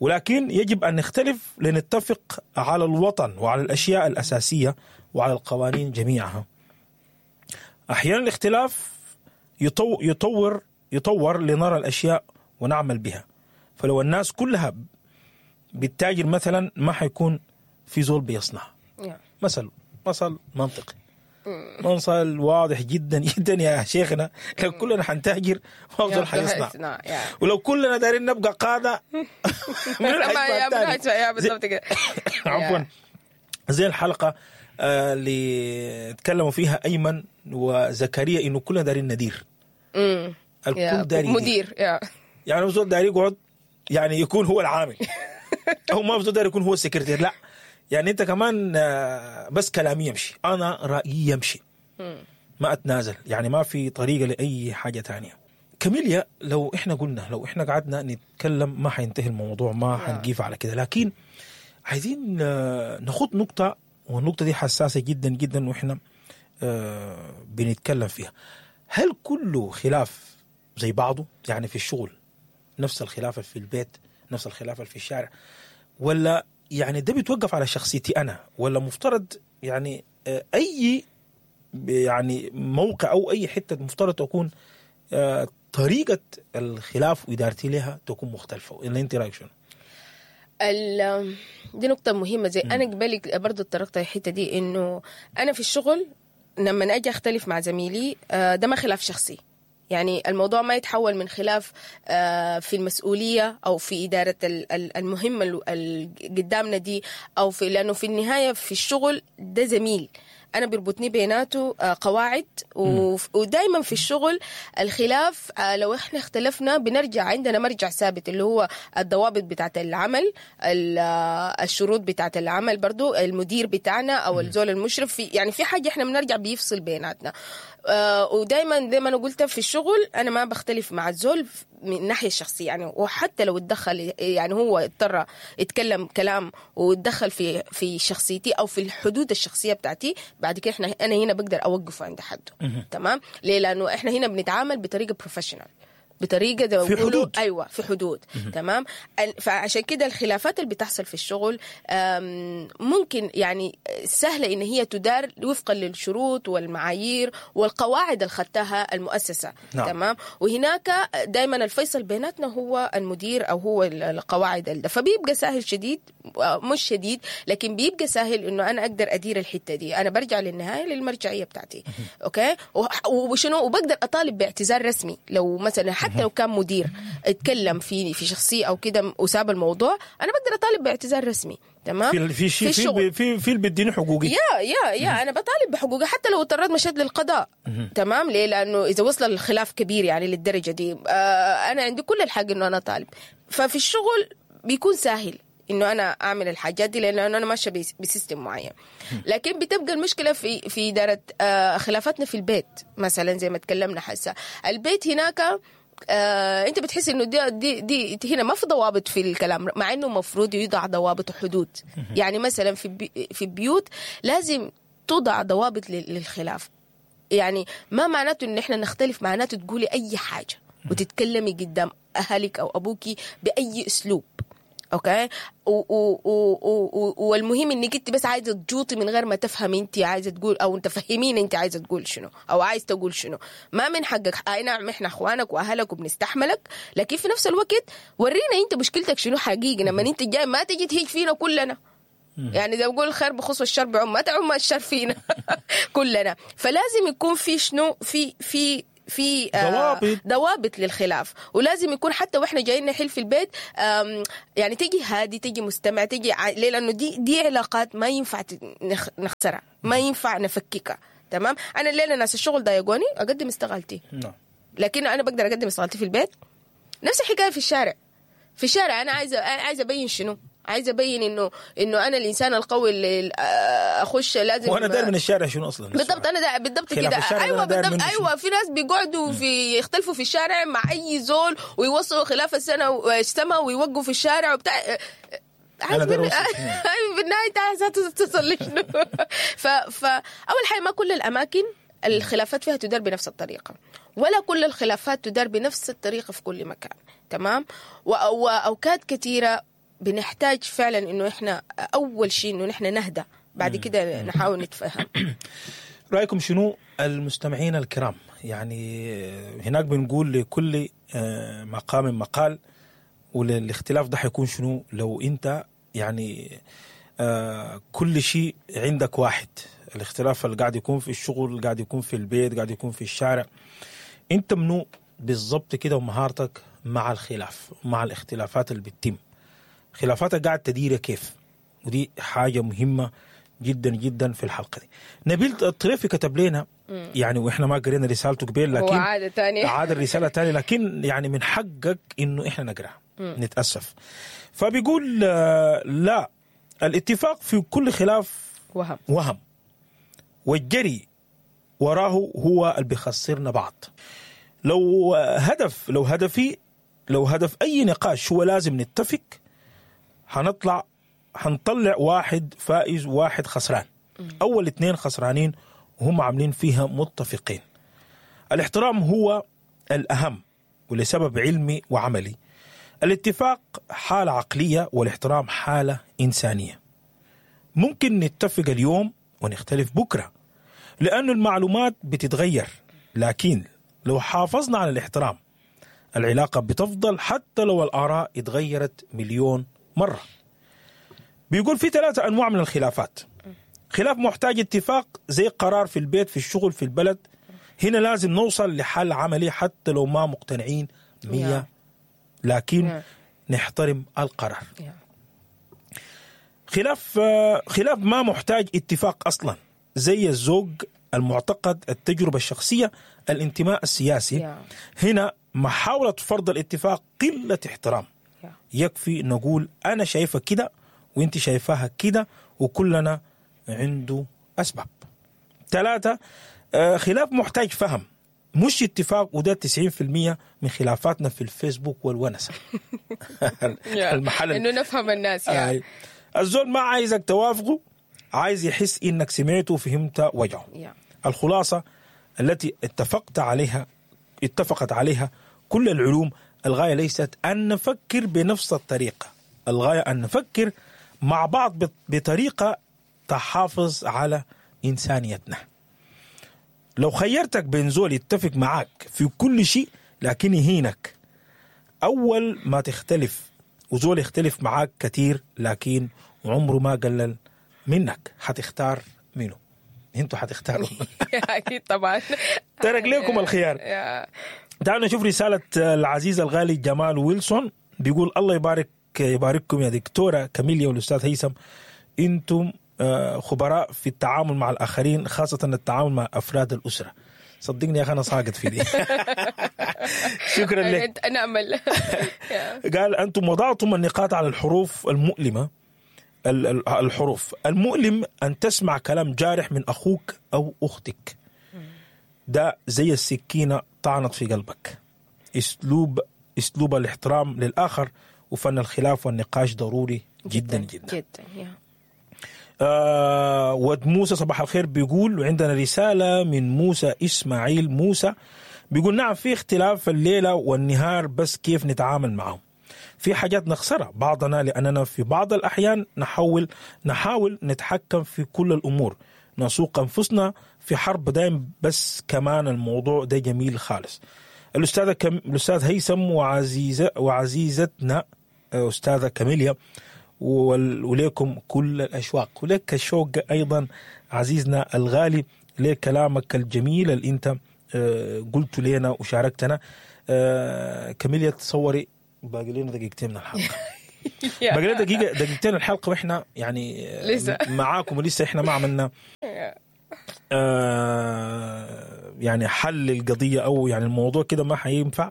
ولكن يجب أن نختلف لنتفق على الوطن وعلى الأشياء الأساسية وعلى القوانين جميعها. أحيانا الاختلاف يطور لنرى الأشياء ونعمل بها. فلو الناس كلها بالتاجر مثلا ما حيكون في زول بيصنع. مثل منطقي، مثل واضح جدا جدا يا شيخنا. لو كلنا حنتاجر ما زول حيصنع، ولو كلنا دارين نبقى قادة من الحيصنع. بالضبط كده. عفوا، زي الحلقة اللي تكلموا فيها أيمن وزكريا إنه كلنا دارين ندير، الكل دارين مدير، يعني زول داري يقعد يعني يكون هو العامل، أو ما زول داري يكون هو السكرتير، لا يعني انت كمان بس كلامي يمشي، انا رايي يمشي، ما اتنازل، يعني ما في طريقه لاي حاجة تانية. كاميليا، لو احنا قلنا لو احنا قعدنا نتكلم ما حينتهي الموضوع، ما حنقيف على كده، لكن عايزين ناخد نقطة، والنقطة دي حساسة جدا جدا واحنا بنتكلم فيها. هل كله خلاف زي بعضه؟ يعني في الشغل نفس الخلاف في البيت، نفس الخلاف في الشارع، ولا يعني ده بيتوقف على شخصيتي أنا، ولا مفترض يعني أي يعني موقع أو أي حتة مفترض تكون طريقة الخلاف وإدارتي لها تكون مختلفة؟ اللي أنت رأيك شنو؟ دي نقطة مهمة. زي أنا قبالي برضو اتطرقت الحتة دي، إنه أنا في الشغل لما أجي أختلف مع زميلي ده ما خلاف شخصي، يعني الموضوع ما يتحول من خلاف في المسؤولية أو في إدارة المهمة اللي قدامنا دي، أو في، لأنه في النهاية في الشغل ده زميل أنا بيربطني بيناته قواعد، ودايما في الشغل الخلاف لو إحنا اختلفنا بنرجع عندنا مرجع ثابت اللي هو الضوابط بتاعة العمل، الشروط بتاعة العمل، برضو المدير بتاعنا أو الزول المشرف، في يعني في حاجة إحنا بنرجع بيفصل بيناتنا. ودايما زي ما أنا قلت في الشغل أنا ما بختلف مع الزول من الناحية الشخصية، يعني وحتى لو اتدخل، يعني هو اضطر يتكلم كلام واتدخل في شخصيتي أو في الحدود الشخصية بتاعتي، بعد كده احنا انا هنا بقدر اوقفه عند حده. تمام؟ ليه؟ لانه احنا هنا بنتعامل بطريقة professional، بطريقة زي ما في حدود. ايوه في حدود. تمام. فعشان كده الخلافات اللي بتحصل في الشغل ممكن يعني سهلة ان هي تدار وفقا للشروط والمعايير والقواعد اللي خدتها المؤسسة. نعم. تمام. وهناك دائما الفيصل بيناتنا هو المدير او هو القواعد ده، فبيبقى سهل شديد، مش شديد لكن بيبقى سهل انه انا اقدر ادير الحتة دي. انا برجع للنهاية للمرجعيه بتاعتي. okay. وشنو، وبقدر اطالب باعتذار رسمي لو مثلا حتى لو كان مدير اتكلم في شخصية او كده وساب الموضوع، انا بقدر اطالب باعتذار رسمي. تمام. في في في في في بيديني حقوقي، يا انا بطالب بحقوقي حتى لو اضطريت مشيت للقضاء. تمام. ليه؟ لانه اذا وصل الخلاف كبير يعني للدرجة دي انا عندي كل الحق انه انا طالب. ففي الشغل بيكون سهل انه انا اعمل الحاجات دي لانه انا ماشية ب system معين. لكن بتبقى المشكلة في ادارة خلافاتنا في البيت مثلا، زي ما تكلمنا حسا البيت هناك انت بتحس انه دي دي هنا ما في ضوابط في الكلام، مع انه المفروض يوضع ضوابط وحدود. يعني مثلا في البيوت لازم توضع ضوابط للخلاف. يعني ما معناته ان احنا نختلف معناته تقولي اي حاجة وتتكلمي قدام اهلك او ابوكي باي اسلوب. okay. والمهم انك انت بس عايزه تجوطي من غير ما تفهمي انت عايزه تقول، او تفهمين انت عايزه تقول شنو او عايز تقول شنو. ما من حقك. اي نعم احنا اخوانك واهلك وبنستحملك، لكن في نفس الوقت ورينا انت مشكلتك شنو حقيقي. لما انت جاي ما تجي تهيج فينا كلنا. يعني ده بقول الخير بخص والشر بعم، ما تعم الشر فينا كلنا. فلازم يكون في شنو، في ضوابط للخلاف. ولازم يكون حتى واحنا جايين نحل في البيت، يعني تيجي هادي، تيجي مستمع، تيجي ليه؟ لانه دي علاقات ما ينفع نخسرها، ما ينفع نفككها. تمام. انا الليلة ناس الشغل ضايقوني اقدم استقالتي، لكن انا بقدر اقدم استقالتي في البيت. نفس الحكاية في الشارع. في الشارع انا عايزه ابين شنو؟ عايزه ابين انه انا الانسان القوي اللي اخش لازم. وانا داير من الشارع شنو اصلا؟ بالضبط، انا دا بالضبط كده. ايوه بالضبط. ايوه في ناس بيقعدوا في يختلفوا في الشارع مع اي زول ويوصلوا خلاف السنة والسما ويوقفوا في الشارع وبتاع. عايز بالنهاية عايزه تصل لشنو؟ فاول حاجة، ما كل الاماكن الخلافات فيها تدار بنفس الطريقة، ولا كل الخلافات تدار بنفس الطريقة في كل مكان. تمام. واوقات كثيرة بنحتاج فعلا انه احنا اول شيء انه نحن نهدى، بعد كده نحاول نتفهم. رايكم شنو المستمعين الكرام؟ يعني هناك بنقول لكل مقام مقال، والاختلاف ده حيكون شنو لو انت يعني كل شيء عندك واحد. الاختلاف اللي قاعد يكون في الشغل، قاعد يكون في البيت، قاعد يكون في الشارع، انت منو بالضبط كده ومهارتك مع الخلاف، مع الاختلافات اللي بتتم، خلافاتك قاعد تديرها كيف؟ ودي حاجة مهمة جدا جدا في الحلقة دي. نبيل الطريفي كتب لنا، يعني واحنا ما قرينا رسالته قبل، لكن عاد الرسالة تاني، لكن يعني من حقك انه احنا نقراها، نتأسف. فبيقول لا، الاتفاق في كل خلاف وهم، والجري وراه هو اللي بيخسرنا بعض. لو هدف اي نقاش هو لازم نتفق، هنطلع واحد فائز وواحد خسران. أول 2 خسرانين وهم عاملين فيها متفقين. الاحترام هو الأهم، ولسبب علمي وعملي. الاتفاق حالة عقلية والاحترام حالة إنسانية. ممكن نتفق اليوم ونختلف بكرة لأن المعلومات بتتغير، لكن لو حافظنا على الاحترام العلاقة بتفضل حتى لو الآراء اتغيرت مليون مرة. بيقول في 3 أنواع من الخلافات. خلاف محتاج اتفاق زي قرار في البيت، في الشغل، في البلد. هنا لازم نوصل لحل عملي حتى لو ما مقتنعين 100، لكن نحترم القرار. خلاف ما محتاج اتفاق أصلا، زي الزوج، المعتقد، التجربة الشخصية، الانتماء السياسي. هنا محاولة فرض الاتفاق قلة احترام. يكفي نقول أنا شايفة كده وانت شايفاها كده، وكلنا عنده أسباب. 3 خلاف محتاج فهم مش اتفاق، وده 90% من خلافاتنا في الفيسبوك والونسة. المحل إنه نفهم الناس يعني. الزول ما عايزك توافقه، عايز يحس إنك سمعته وفهمت وجعه. الخلاصة التي اتفقت عليها كل العلوم، الغاية ليست أن نفكر بنفس الطريقة، الغاية أن نفكر مع بعض بطريقة تحافظ على إنسانيتنا. لو خيرتك بين زول يتفق معاك في كل شيء لكن يهينك أول ما تختلف، وزول يختلف معاك كتير لكن عمره ما قلل منك، حتختار منه؟ انتوا حتختاروا. أكيد طبعا. ترك لكم الخيار. تعالوا نشوف رسالة العزيز الغالي جمال ويلسون. بيقول الله يبارككم يا دكتورة كاميليا والأستاذ هيثم، انتم خبراء في التعامل مع الآخرين، خاصة التعامل مع أفراد الأسرة. صدقني يا أخي أنا ساقط في دي. شكرا لك. أنا أمل. قال أنتم وضعتم النقاط على الحروف المؤلمة. الحروف المؤلم أن تسمع كلام جارح من أخوك أو أختك، ده زي السكينة طعنت في قلبك. أسلوب الاحترام للآخر وفن الخلاف والنقاش ضروري جدا جدا, جدا. ود موسى صباح الخير بيقول، وعندنا رسالة من موسى إسماعيل موسى بيقول نعم في اختلاف الليلة والنهار، بس كيف نتعامل معهم؟ في حاجات نخسرها بعضنا لأننا في بعض الأحيان نحاول نتحكم في كل الأمور، نسوق أنفسنا في حرب دائم. بس كمان الموضوع ده جميل خالص. الأستاذ هيثم وعزيزتنا أستاذة كاميليا وليكم كل الأشواق، ولك الشوق أيضا عزيزنا الغالي لكلامك الجميل اللي أنت قلت لنا وشاركتنا. كاميليا تصوري باقي لنا دقيقتين من الحلقة، باقي لنا دقيقتين الحلقة، وإحنا يعني لسه معاكم ولسه إحنا ما عملنا يعني حل القضية أو يعني الموضوع كده ما حينفع.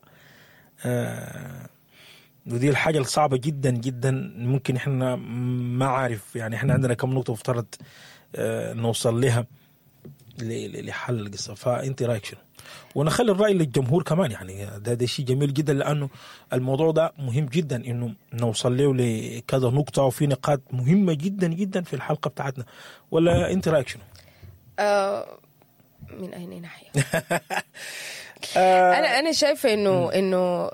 ودي الحاجة الصعبة جدا جدا، ممكن إحنا ما عارف يعني إحنا عندنا كم نقطة مفترض نوصل لها لحل القصة. فأنت رأيك شنو؟ ونخلي الرأي للجمهور كمان، يعني ده شيء جميل جدا، لأنه الموضوع ده مهم جدا إنه نوصل له لكذا نقطة، وفي نقاط مهمة جدا جدا في الحلقة بتاعتنا. ولا أنت رأيك شنو؟ من أين ناحية؟ أنا شايفة إنه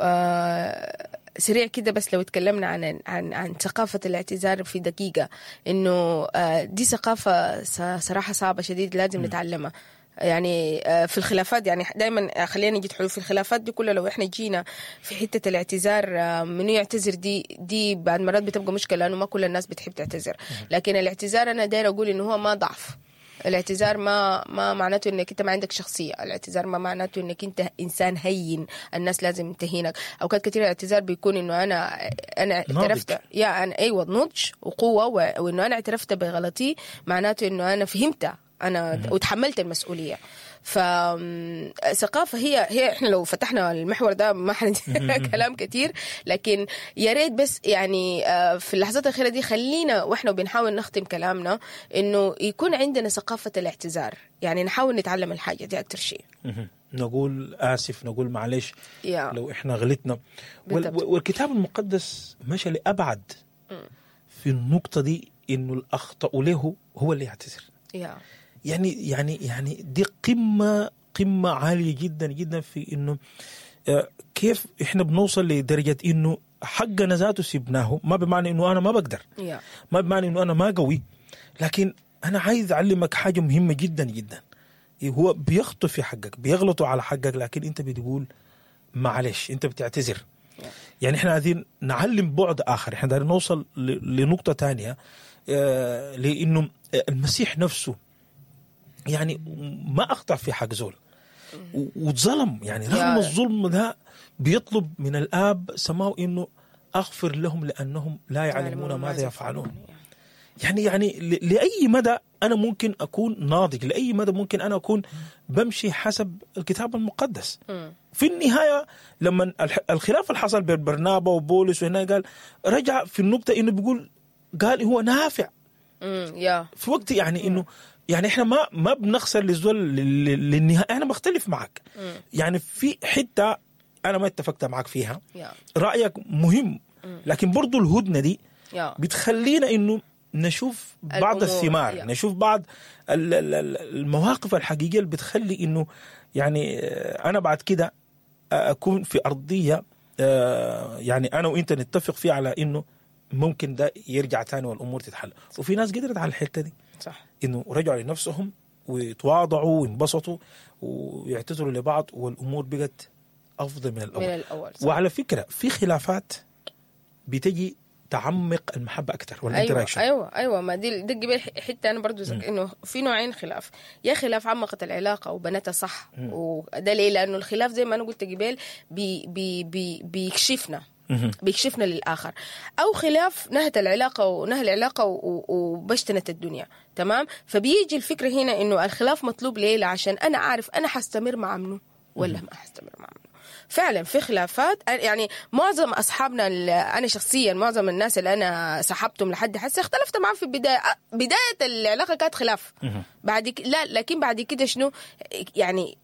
سريع كده، بس لو اتكلمنا عن عن عن ثقافة الاعتذار في دقيقة، إنه دي ثقافة صراحة صعبة شديد، لازم نتعلمها. يعني في الخلافات، يعني دايما خلينا نجد حلول في الخلافات دي كلها. لو احنا جينا في حتة الاعتذار، منو يعتذر، دي بعد مرات بتبقى مشكلة، لأنه ما كل الناس بتحب تعتذر. لكن الاعتذار أنا داير أقول إنه هو ما ضعف. الاعتذار ما معناته انك انت ما عندك شخصية، الاعتذار ما معناته انك انت انسان هين الناس لازم تهينك. اوقات كثير الاعتذار بيكون انه انا اعترفت، يا انا ايوه نضج وقوه، وانه انا اعترفت بغلطي، معناته انه انا فهمتها انا وتحملت المسؤولية. فثقافه هي احنا لو فتحنا المحور ده ما كلام كتير، لكن يا ريت بس يعني في اللحظات الاخيرة دي خلينا واحنا بنحاول نختم كلامنا انه يكون عندنا ثقافة الاعتذار، يعني نحاول نتعلم الحاجة دي اكثر شيء. نقول اسف، نقول معلش لو احنا غلطنا. والكتاب المقدس مشى لابعد في النقطة دي، انه الاخطا له هو اللي يعتذر. يعني يعني يعني دي قمة عالية جدا جدا في إنه كيف إحنا بنوصل لدرجة إنه حقنا ذاته سيبناه. ما بمعنى إنه أنا ما بقدر، ما بمعنى إنه أنا ما قوي، لكن أنا عايز أعلمك حاجة مهمة جدا جدا. هو بيخطئ في حقك، بيغلطوا على حقك، لكن أنت بتقول معلش، أنت بتعتذر. يعني إحنا عايزين نعلم بعد آخر، إحنا دايرين نوصل لنقطة تانية، لأنه المسيح نفسه يعني ما أخطأ في حق زول واتظلم، يعني رغم الظلم ده بيطلب من الآب سماه إنه أغفر لهم لأنهم لا يعلمون ماذا يفعلون. يعني لأي مدى أنا ممكن أكون ناضج، لأي مدى ممكن أنا أكون بمشي حسب الكتاب المقدس. في النهاية لما الخلاف اللي حصل بين برنابا وبولس وهنا، قال رجع في النقطة إنه بيقول، قال هو نافع في وقت، يعني إنه يعني إحنا ما بنخسر للزول للنهاية. أنا بختلف معك، يعني في حتة أنا ما اتفقت معك فيها، رأيك مهم، لكن برضو الهدنة دي بتخلينا إنه نشوف بعض الثمار، نشوف بعض المواقف الحقيقية اللي بتخلي إنه يعني أنا بعد كده أكون في أرضية، يعني أنا وإنت نتفق فيها على إنه ممكن ده يرجع تاني والأمور تتحل. وفي ناس قدرت على الحتة دي، صح، إنه رجعوا لنفسهم ويتواضعوا وينبسطوا ويعتذروا لبعض، والأمور بقت أفضل من الأول. صح. وعلى فكرة في خلافات بتجي تعمق المحبة أكثر، ولا أنت رأيك شو؟ أيوة ما دي قبل حتة أنا برضو إنه في نوعين خلاف، يا خلاف عمقت العلاقة وبنتها صح، وده ليه؟ لأنه الخلاف زي ما أنا قلت قبل بي بي بي بيكشفنا، بيكشفنا للآخر، أو خلاف نهت العلاقة ونهى العلاقة وبشتنت الدنيا. تمام؟ فبيجي الفكرة هنا إنه الخلاف مطلوب ليه؟ عشان أنا عارف أنا حستمر مع منه ولا ما حستمر مع منه. فعلا في خلافات، يعني معظم أصحابنا، أنا شخصيا معظم الناس اللي أنا صاحبتهم لحد حسي اختلفت معهم في البداية، بداية العلاقة كانت خلاف، بعد لا، لكن بعد كده شنو يعني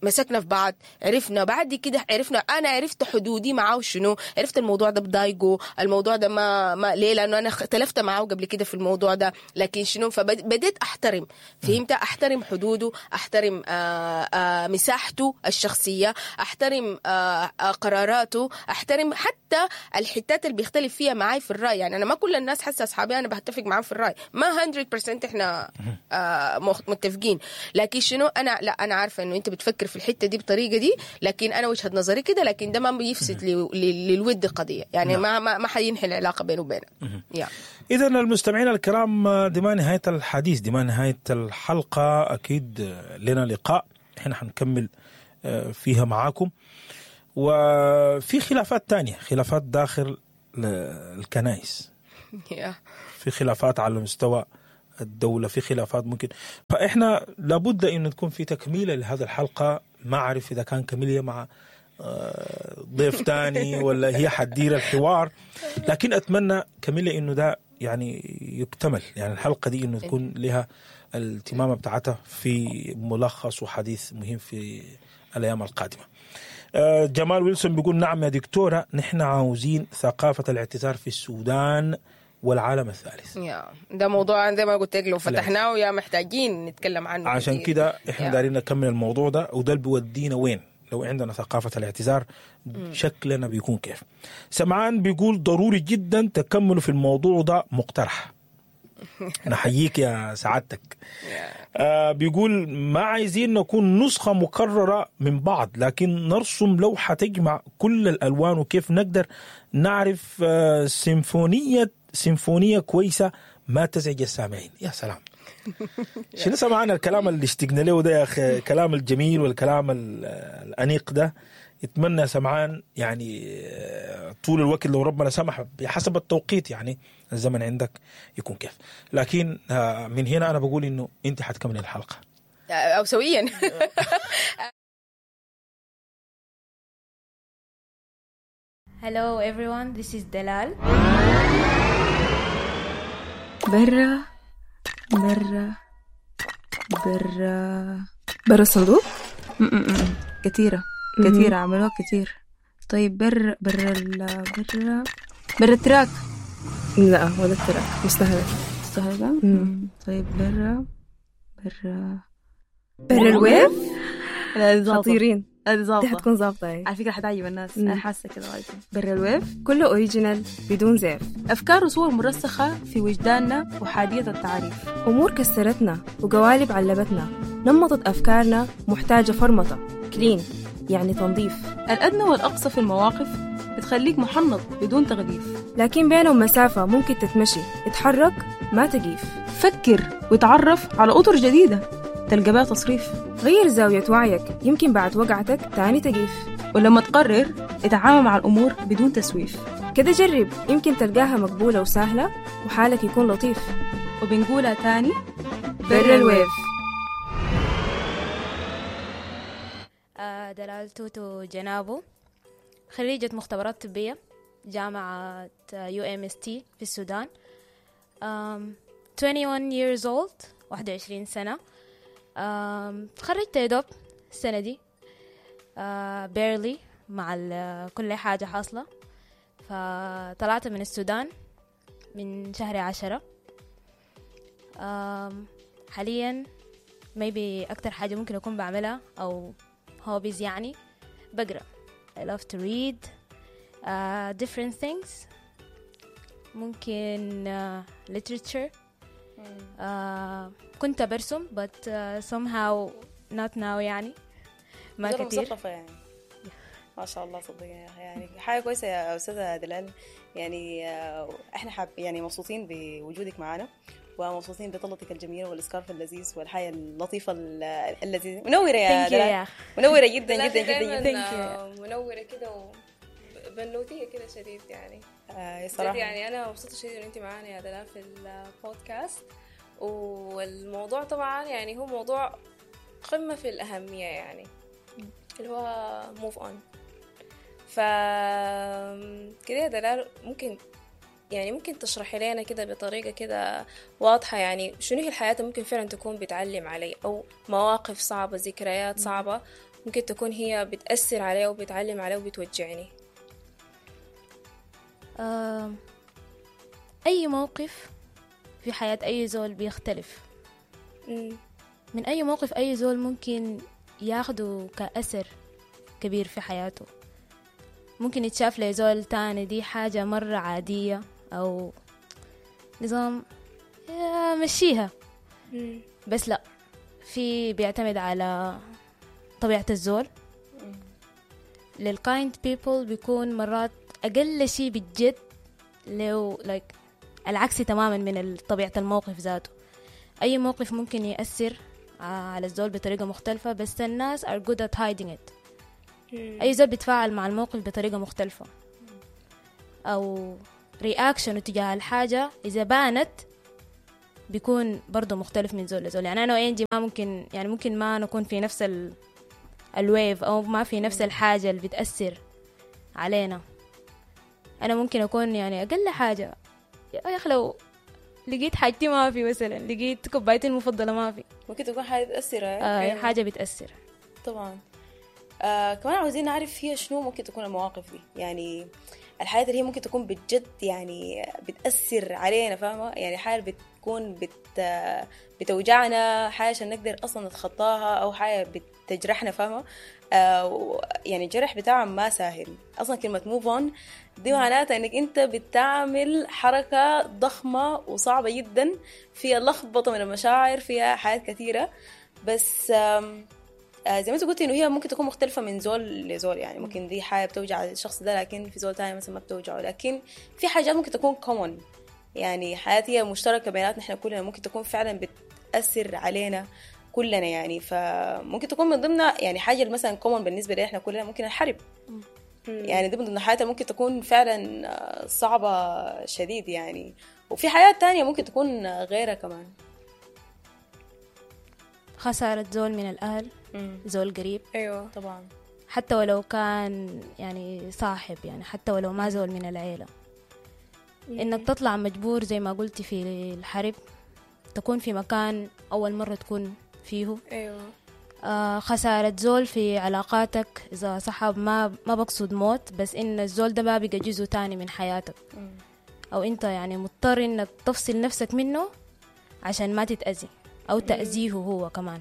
مسكنا في بعض، عرفنا بعد كده، عرفنا انا عرفت حدودي معاه شنو، عرفت الموضوع ده بضايقه، الموضوع ده ما ليه، لانه انا اختلفت معاه قبل كده في الموضوع ده، لكن شنو، فبديت احترم، فهمت، احترم حدوده، احترم مساحته الشخصية، احترم قراراته، احترم حتى الحتات اللي بيختلف فيها معاي في الراي. يعني انا ما كل الناس حاسه اصحابي انا بتفق معاهم في الراي، ما 100% احنا متفقين، لكن شنو انا لا انا عارفه انه انت بتفكر بتفكر في الحتة دي بالطريقة دي، لكن انا وجهه نظري كده، لكن ده ما بيفسد للود قضية يعني. ما ما ما حينحي العلاقة بينه وبينك يا. إذا المستمعين الكرام، دي ما نهاية الحديث، دي ما نهاية الحلقة. أكيد لنا لقاء احنا حنكمل فيها معاكم. وفي خلافات تانية، خلافات داخل الكنائس، في خلافات على مستوى الدولة، في خلافات ممكن، فإحنا لابد أن تكون في تكميلة لهذا الحلقة. ما أعرف إذا كان كميليا مع ضيف تاني ولا هي حتدير الحوار، لكن أتمنى كميليا إنه ده يعني يكتمل، يعني الحلقة دي إنه تكون لها التمامة بتاعتها في ملخص وحديث مهم في الأيام القادمة. جمال ويلسون بيقول نعم يا دكتورة، نحن عاوزين ثقافة الاعتذار في السودان والعالم الثالث. يا ده موضوع زي ما قلت لك لو فتحناه يا محتاجين نتكلم عنه. عشان كده احنا دايرين نكمل الموضوع ده، وده اللي بيودينا وين لو عندنا ثقافة الاعتذار شكلنا بيكون كيف. سمعان بيقول ضروري جدا تكملوا في الموضوع ده، مقترح. نحييك يا سعادتك. بيقول ما عايزين نكون نسخة مكررة من بعض، لكن نرسم لوحة تجمع كل الألوان، وكيف نقدر نعرف سيمفونية كويسة ما تزعج السامعين. يا سلام، شنو سمعنا الكلام اللي اشتقنا له ده يا أخي، الكلام الجميل والكلام الأنيق ده. اتمنى سمعان يعني طول الوقت لو ربنا سمح بحسب التوقيت، يعني الزمن عندك يكون كيف. لكن من هنا أنا بقول إنه أنت حتكمل الحلقة أو سويا. Hello everyone, this is Dalal. برا برا برا برا الصندوق. كثيرة كثيرة، عملوها كثير. طيب برا برا برا برا ال track. لا ولا ال track مستهلك. مستهلكة. طيب برا برا برا ال wave. خطيرين، دي حتكون ظابطة على فكرة، حتعجب الناس. أنا حاسة كده غايته. برا ال wave كله original بدون زيف، أفكار وصور مرسخة في وجداننا وحادية التعريف، أمور كسرتنا وقوالب علبتنا، نمطت أفكارنا محتاجة فرمطة clean يعني تنظيف. الأدنى والأقصى في المواقف بتخليك محنط بدون تغليف، لكن بينهم مسافة ممكن تتمشي، اتحرك ما تقيف، فكر وتعرف على أطر جديدة تلقى بها تصريف، غير زاوية وعيك يمكن بعد وقعتك تاني تقيف، ولما تقرر اتعامل مع الأمور بدون تسويف، كده جرب يمكن تلقاها مقبولة وسهلة وحالك يكون لطيف. وبنقولها تاني، برا ال wave. دلال توتو جنابو، خريجة مختبرات طبية جامعة UMST في السودان، 21 years old، 21 سنة. تخرجت يا دوب السنة دي barely مع كل حاجة حاصلة. فطلعت من السودان من شهر 10. حاليا maybe أكتر حاجة ممكن أكون بعملها أو hobbies يعني بقرأ. I love to read different things، ممكن literature. كنت برسم but somehow not now يعني ما كتير. مثقفة يعني ما شاء الله، صدق يعني حاجة كويسة يا أستاذة دلال. يعني احنا يعني مبسوطين بوجودك معنا، ومبسوطين بطلتك الجميلة وال scarf اللذيذ والحياة اللطيفة اللذيذة. منورة يا دلال، منورة جدا جدا جدا جدا، منورة كده وبنوتية كده شديد يعني. صراحة يعني أنا مبسوطة شديد إن أنت معانا يا دلال في البودكاست. والموضوع طبعا يعني هو موضوع قمة في الأهمية، يعني اللي هو move on. ف كده يا دلال ممكن تشرحي لنا كده بطريقة كده واضحة، يعني شنو هي الحياة ممكن فعلا تكون بتعلم علي، أو مواقف صعبة، ذكريات صعبة ممكن تكون هي بتأثر علي وبتعلم علي وبتوجعني. أي موقف في حياة أي زول بيختلف. من أي موقف أي زول ممكن ياخده كأثر كبير في حياته. ممكن يتشاف لزول تاني دي حاجة مرة عادية أو نظام مشيها، بس لا، في بيعتمد على طبيعة الزول. لل kind people بيكون مرات أقل شيء بجد لو like العكس تماما من طبيعة الموقف ذاته. أي موقف ممكن يأثر على الزول بطريقة مختلفة، بس الناس are good at hiding it. أي زول بيتفاعل مع الموقف بطريقة مختلفة أو reaction تجاه الحاجة إذا بانت بيكون برضه مختلف من زول لزول. يعني أنا وإنجي ما ممكن، يعني ممكن ما نكون في نفس ال wave أو ما في نفس الحاجة اللي بتأثر علينا. أنا ممكن أكون يعني أقل حاجة يا أخي لو لقيت حاجتي ما في، مثلا لقيت كوبايتي المفضلة ما في، ممكن تكون حاجة بتأثر. حاجة بتأثر طبعا. كمان عاوزين نعرف هي شنو ممكن تكون المواقف دي، يعني الحاجات اللي هي ممكن تكون بجد يعني بتأثر علينا، فاهمة؟ يعني حاجة بتكون بتوجعنا، حاجة عشان نقدر أصلا نتخطاها، أو حاجة بتجرحنا، فاهمة؟ يعني الجرح بتاعها ما سهل أصلا. كلمة move on دي معناتها إنك أنت بتعمل حركة ضخمة وصعبة جدا، فيها لخبطة من المشاعر، فيها حاجات كثيرة. بس زي ما انت قلتي انه هي ممكن تكون مختلفة من زول لزول، يعني ممكن دي حاجة بتوجع الشخص ده لكن في زول تاني مثلا ما بتوجعه. لكن في حاجات ممكن تكون common، يعني حاجات هي مشتركة بيناتنا احنا كلنا، ممكن تكون فعلا بتأثر علينا كلنا يعني. فممكن تكون من ضمن يعني حاجة مثلا common بالنسبة لنا احنا كلنا، ممكن الحرب. يعني دي من ضمن الحاجات ممكن تكون فعلا صعبة شديد يعني. وفي حاجات تانية ممكن تكون غيرها كمان. خسارة زول من الأهل، زول قريب. أيوة طبعا، حتى ولو كان يعني صاحب، يعني حتى ولو ما زول من العيلة. إنك تطلع مجبور زي ما قلتي في الحرب، تكون في مكان أول مرة تكون فيه. أيوة. خسارة زول في علاقاتك، إذا صحاب ما بقصد موت، بس إن الزول ده ما بقى جزء تاني من حياتك، أو أنت يعني مضطر إنك تفصل نفسك منه عشان ما تتأذي أو تأذيه هو كمان.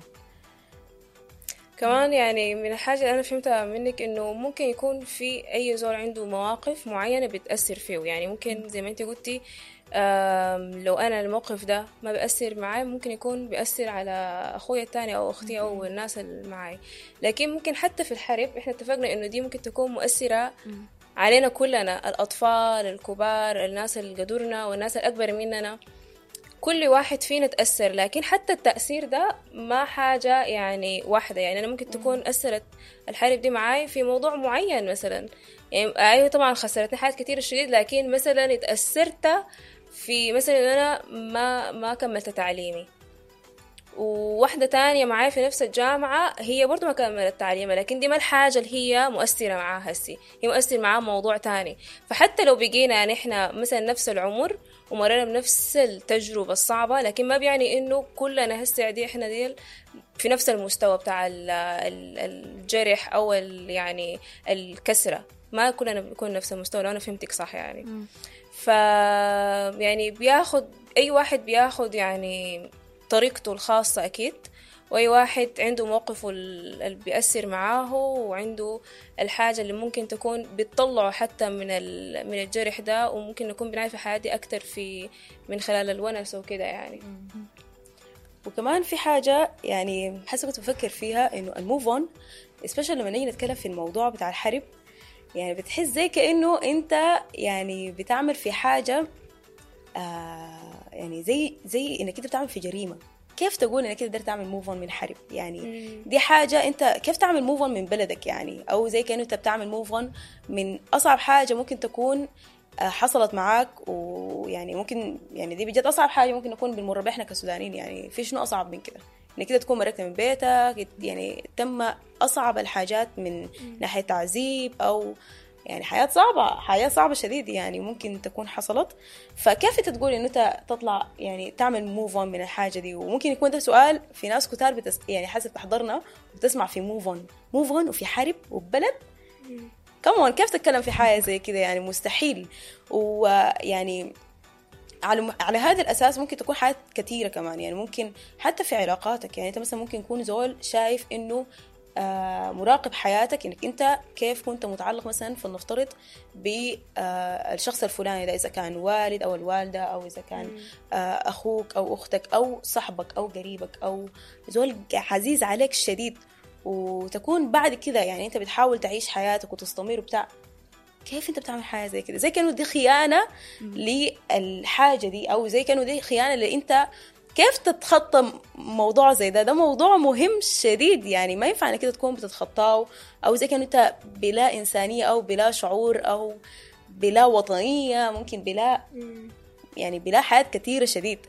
كمان يعني من الحاجة اللي أنا فهمتها منك إنه ممكن يكون في أي زول عنده مواقف معينة بتأثر فيه. يعني ممكن زي ما أنت قلتي، لو أنا الموقف ده ما بيأثر معي ممكن يكون بيأثر على أخويا التاني أو أختي أو الناس اللي معي. لكن ممكن حتى في الحرب إحنا اتفقنا إنه دي ممكن تكون مؤثرة علينا كلنا، الأطفال، الكبار، الناس اللي قدرنا والناس الأكبر مننا، كل واحد فينا تأثر. لكن حتى التأثير ده ما حاجة يعني واحدة. يعني أنا ممكن تكون أثرت الحرب دي معاي في موضوع معين مثلا، يعني أيوة طبعا خسرتني حاجات كتير شديد، لكن مثلا اتأثرت في مثلا إن أنا ما كملت تعليمي، وواحدة تانية معاي في نفس الجامعة هي برضو ما كملت تعليمها، لكن دي ما الحاجة اللي هي مؤثرة معاها هسي، هي مؤثر معاها موضوع تاني. فحتى لو بقينا نحن مثلا نفس العمر ومرينا بنفس التجربة الصعبة، لكن ما بيعني إنه كلنا هسه دي إحنا دي في نفس المستوى بتاع الجرح أو يعني الكسرة، ما كلنا بنكون نفس المستوى. لو أنا فهمتك صح يعني. ف يعني بياخد أي واحد بياخد يعني طريقته الخاصة أكيد، وأي واحد عنده موقفه اللي بيأثر معاه، وعنده الحاجة اللي ممكن تكون بتطلعه حتى من الجرح ده، وممكن نكون بنعرف الحياة دي أكتر في من خلال الونس وكده يعني. وكمان في حاجة يعني حاسة كنت بفكر فيها، إنه ال move on especially لما نيجي نتكلم في الموضوع بتاع الحرب، يعني بتحس زي كأنه أنت يعني بتعمل في حاجة يعني زي إنك أنت بتعمل في جريمة. كيف تقول إنك تقدر تعمل move on من حرب؟ يعني دي حاجة أنت كيف تعمل move on من بلدك يعني، أو زي كأنه أنت بتعمل move on من أصعب حاجة ممكن تكون حصلت معاك. ويعني ممكن يعني دي بجد أصعب حاجة ممكن نكون بنمر بها إحنا كسودانيين. يعني في شنو أصعب من كده؟ إنك كده تكون مرقت من بيتك، يعني تم أصعب الحاجات من ناحية تعذيب أو يعني حياة صعبة، حياة صعبة شديد يعني ممكن تكون حصلت. فكيف انت تقول انه انت تطلع يعني تعمل move on من الحاجة دي؟ وممكن يكون ده سؤال في ناس كتار يعني حسب تحضرنا وبتسمع في move on، move on وفي حرب وبلد كمان، كيف تتكلم في حاجة زي كده؟ يعني مستحيل. ويعني على هذا الأساس ممكن تكون حاجات كثيرة كمان، يعني ممكن حتى في علاقاتك. يعني انت مثلا ممكن يكون زول شايف انه مراقب حياتك، انك انت كيف كنت متعلق مثلا فلنفترض بالشخص الفلاني ده، اذا كان والد او الوالدة، او اذا كان اخوك او اختك او صاحبك او قريبك او زول عزيز عليك شديد، وتكون بعد كده يعني انت بتحاول تعيش حياتك وتستمر وبتاع، كيف انت بتعمل حاجة زي كده؟ زي كانه دي خيانة للحاجة دي، او زي كانه دي خيانة اللي انت كيف تتخطى موضوع زي ده؟ ده موضوع مهم شديد، يعني ما ينفع انك كده تكون بتتخطاه، او زي كانه انت بلا انسانيه او بلا شعور او بلا وطنية، ممكن بلا يعني بلا حاجات كثيرة شديد.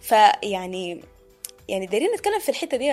فيعني يعني دايرين نتكلم في الحتة دي.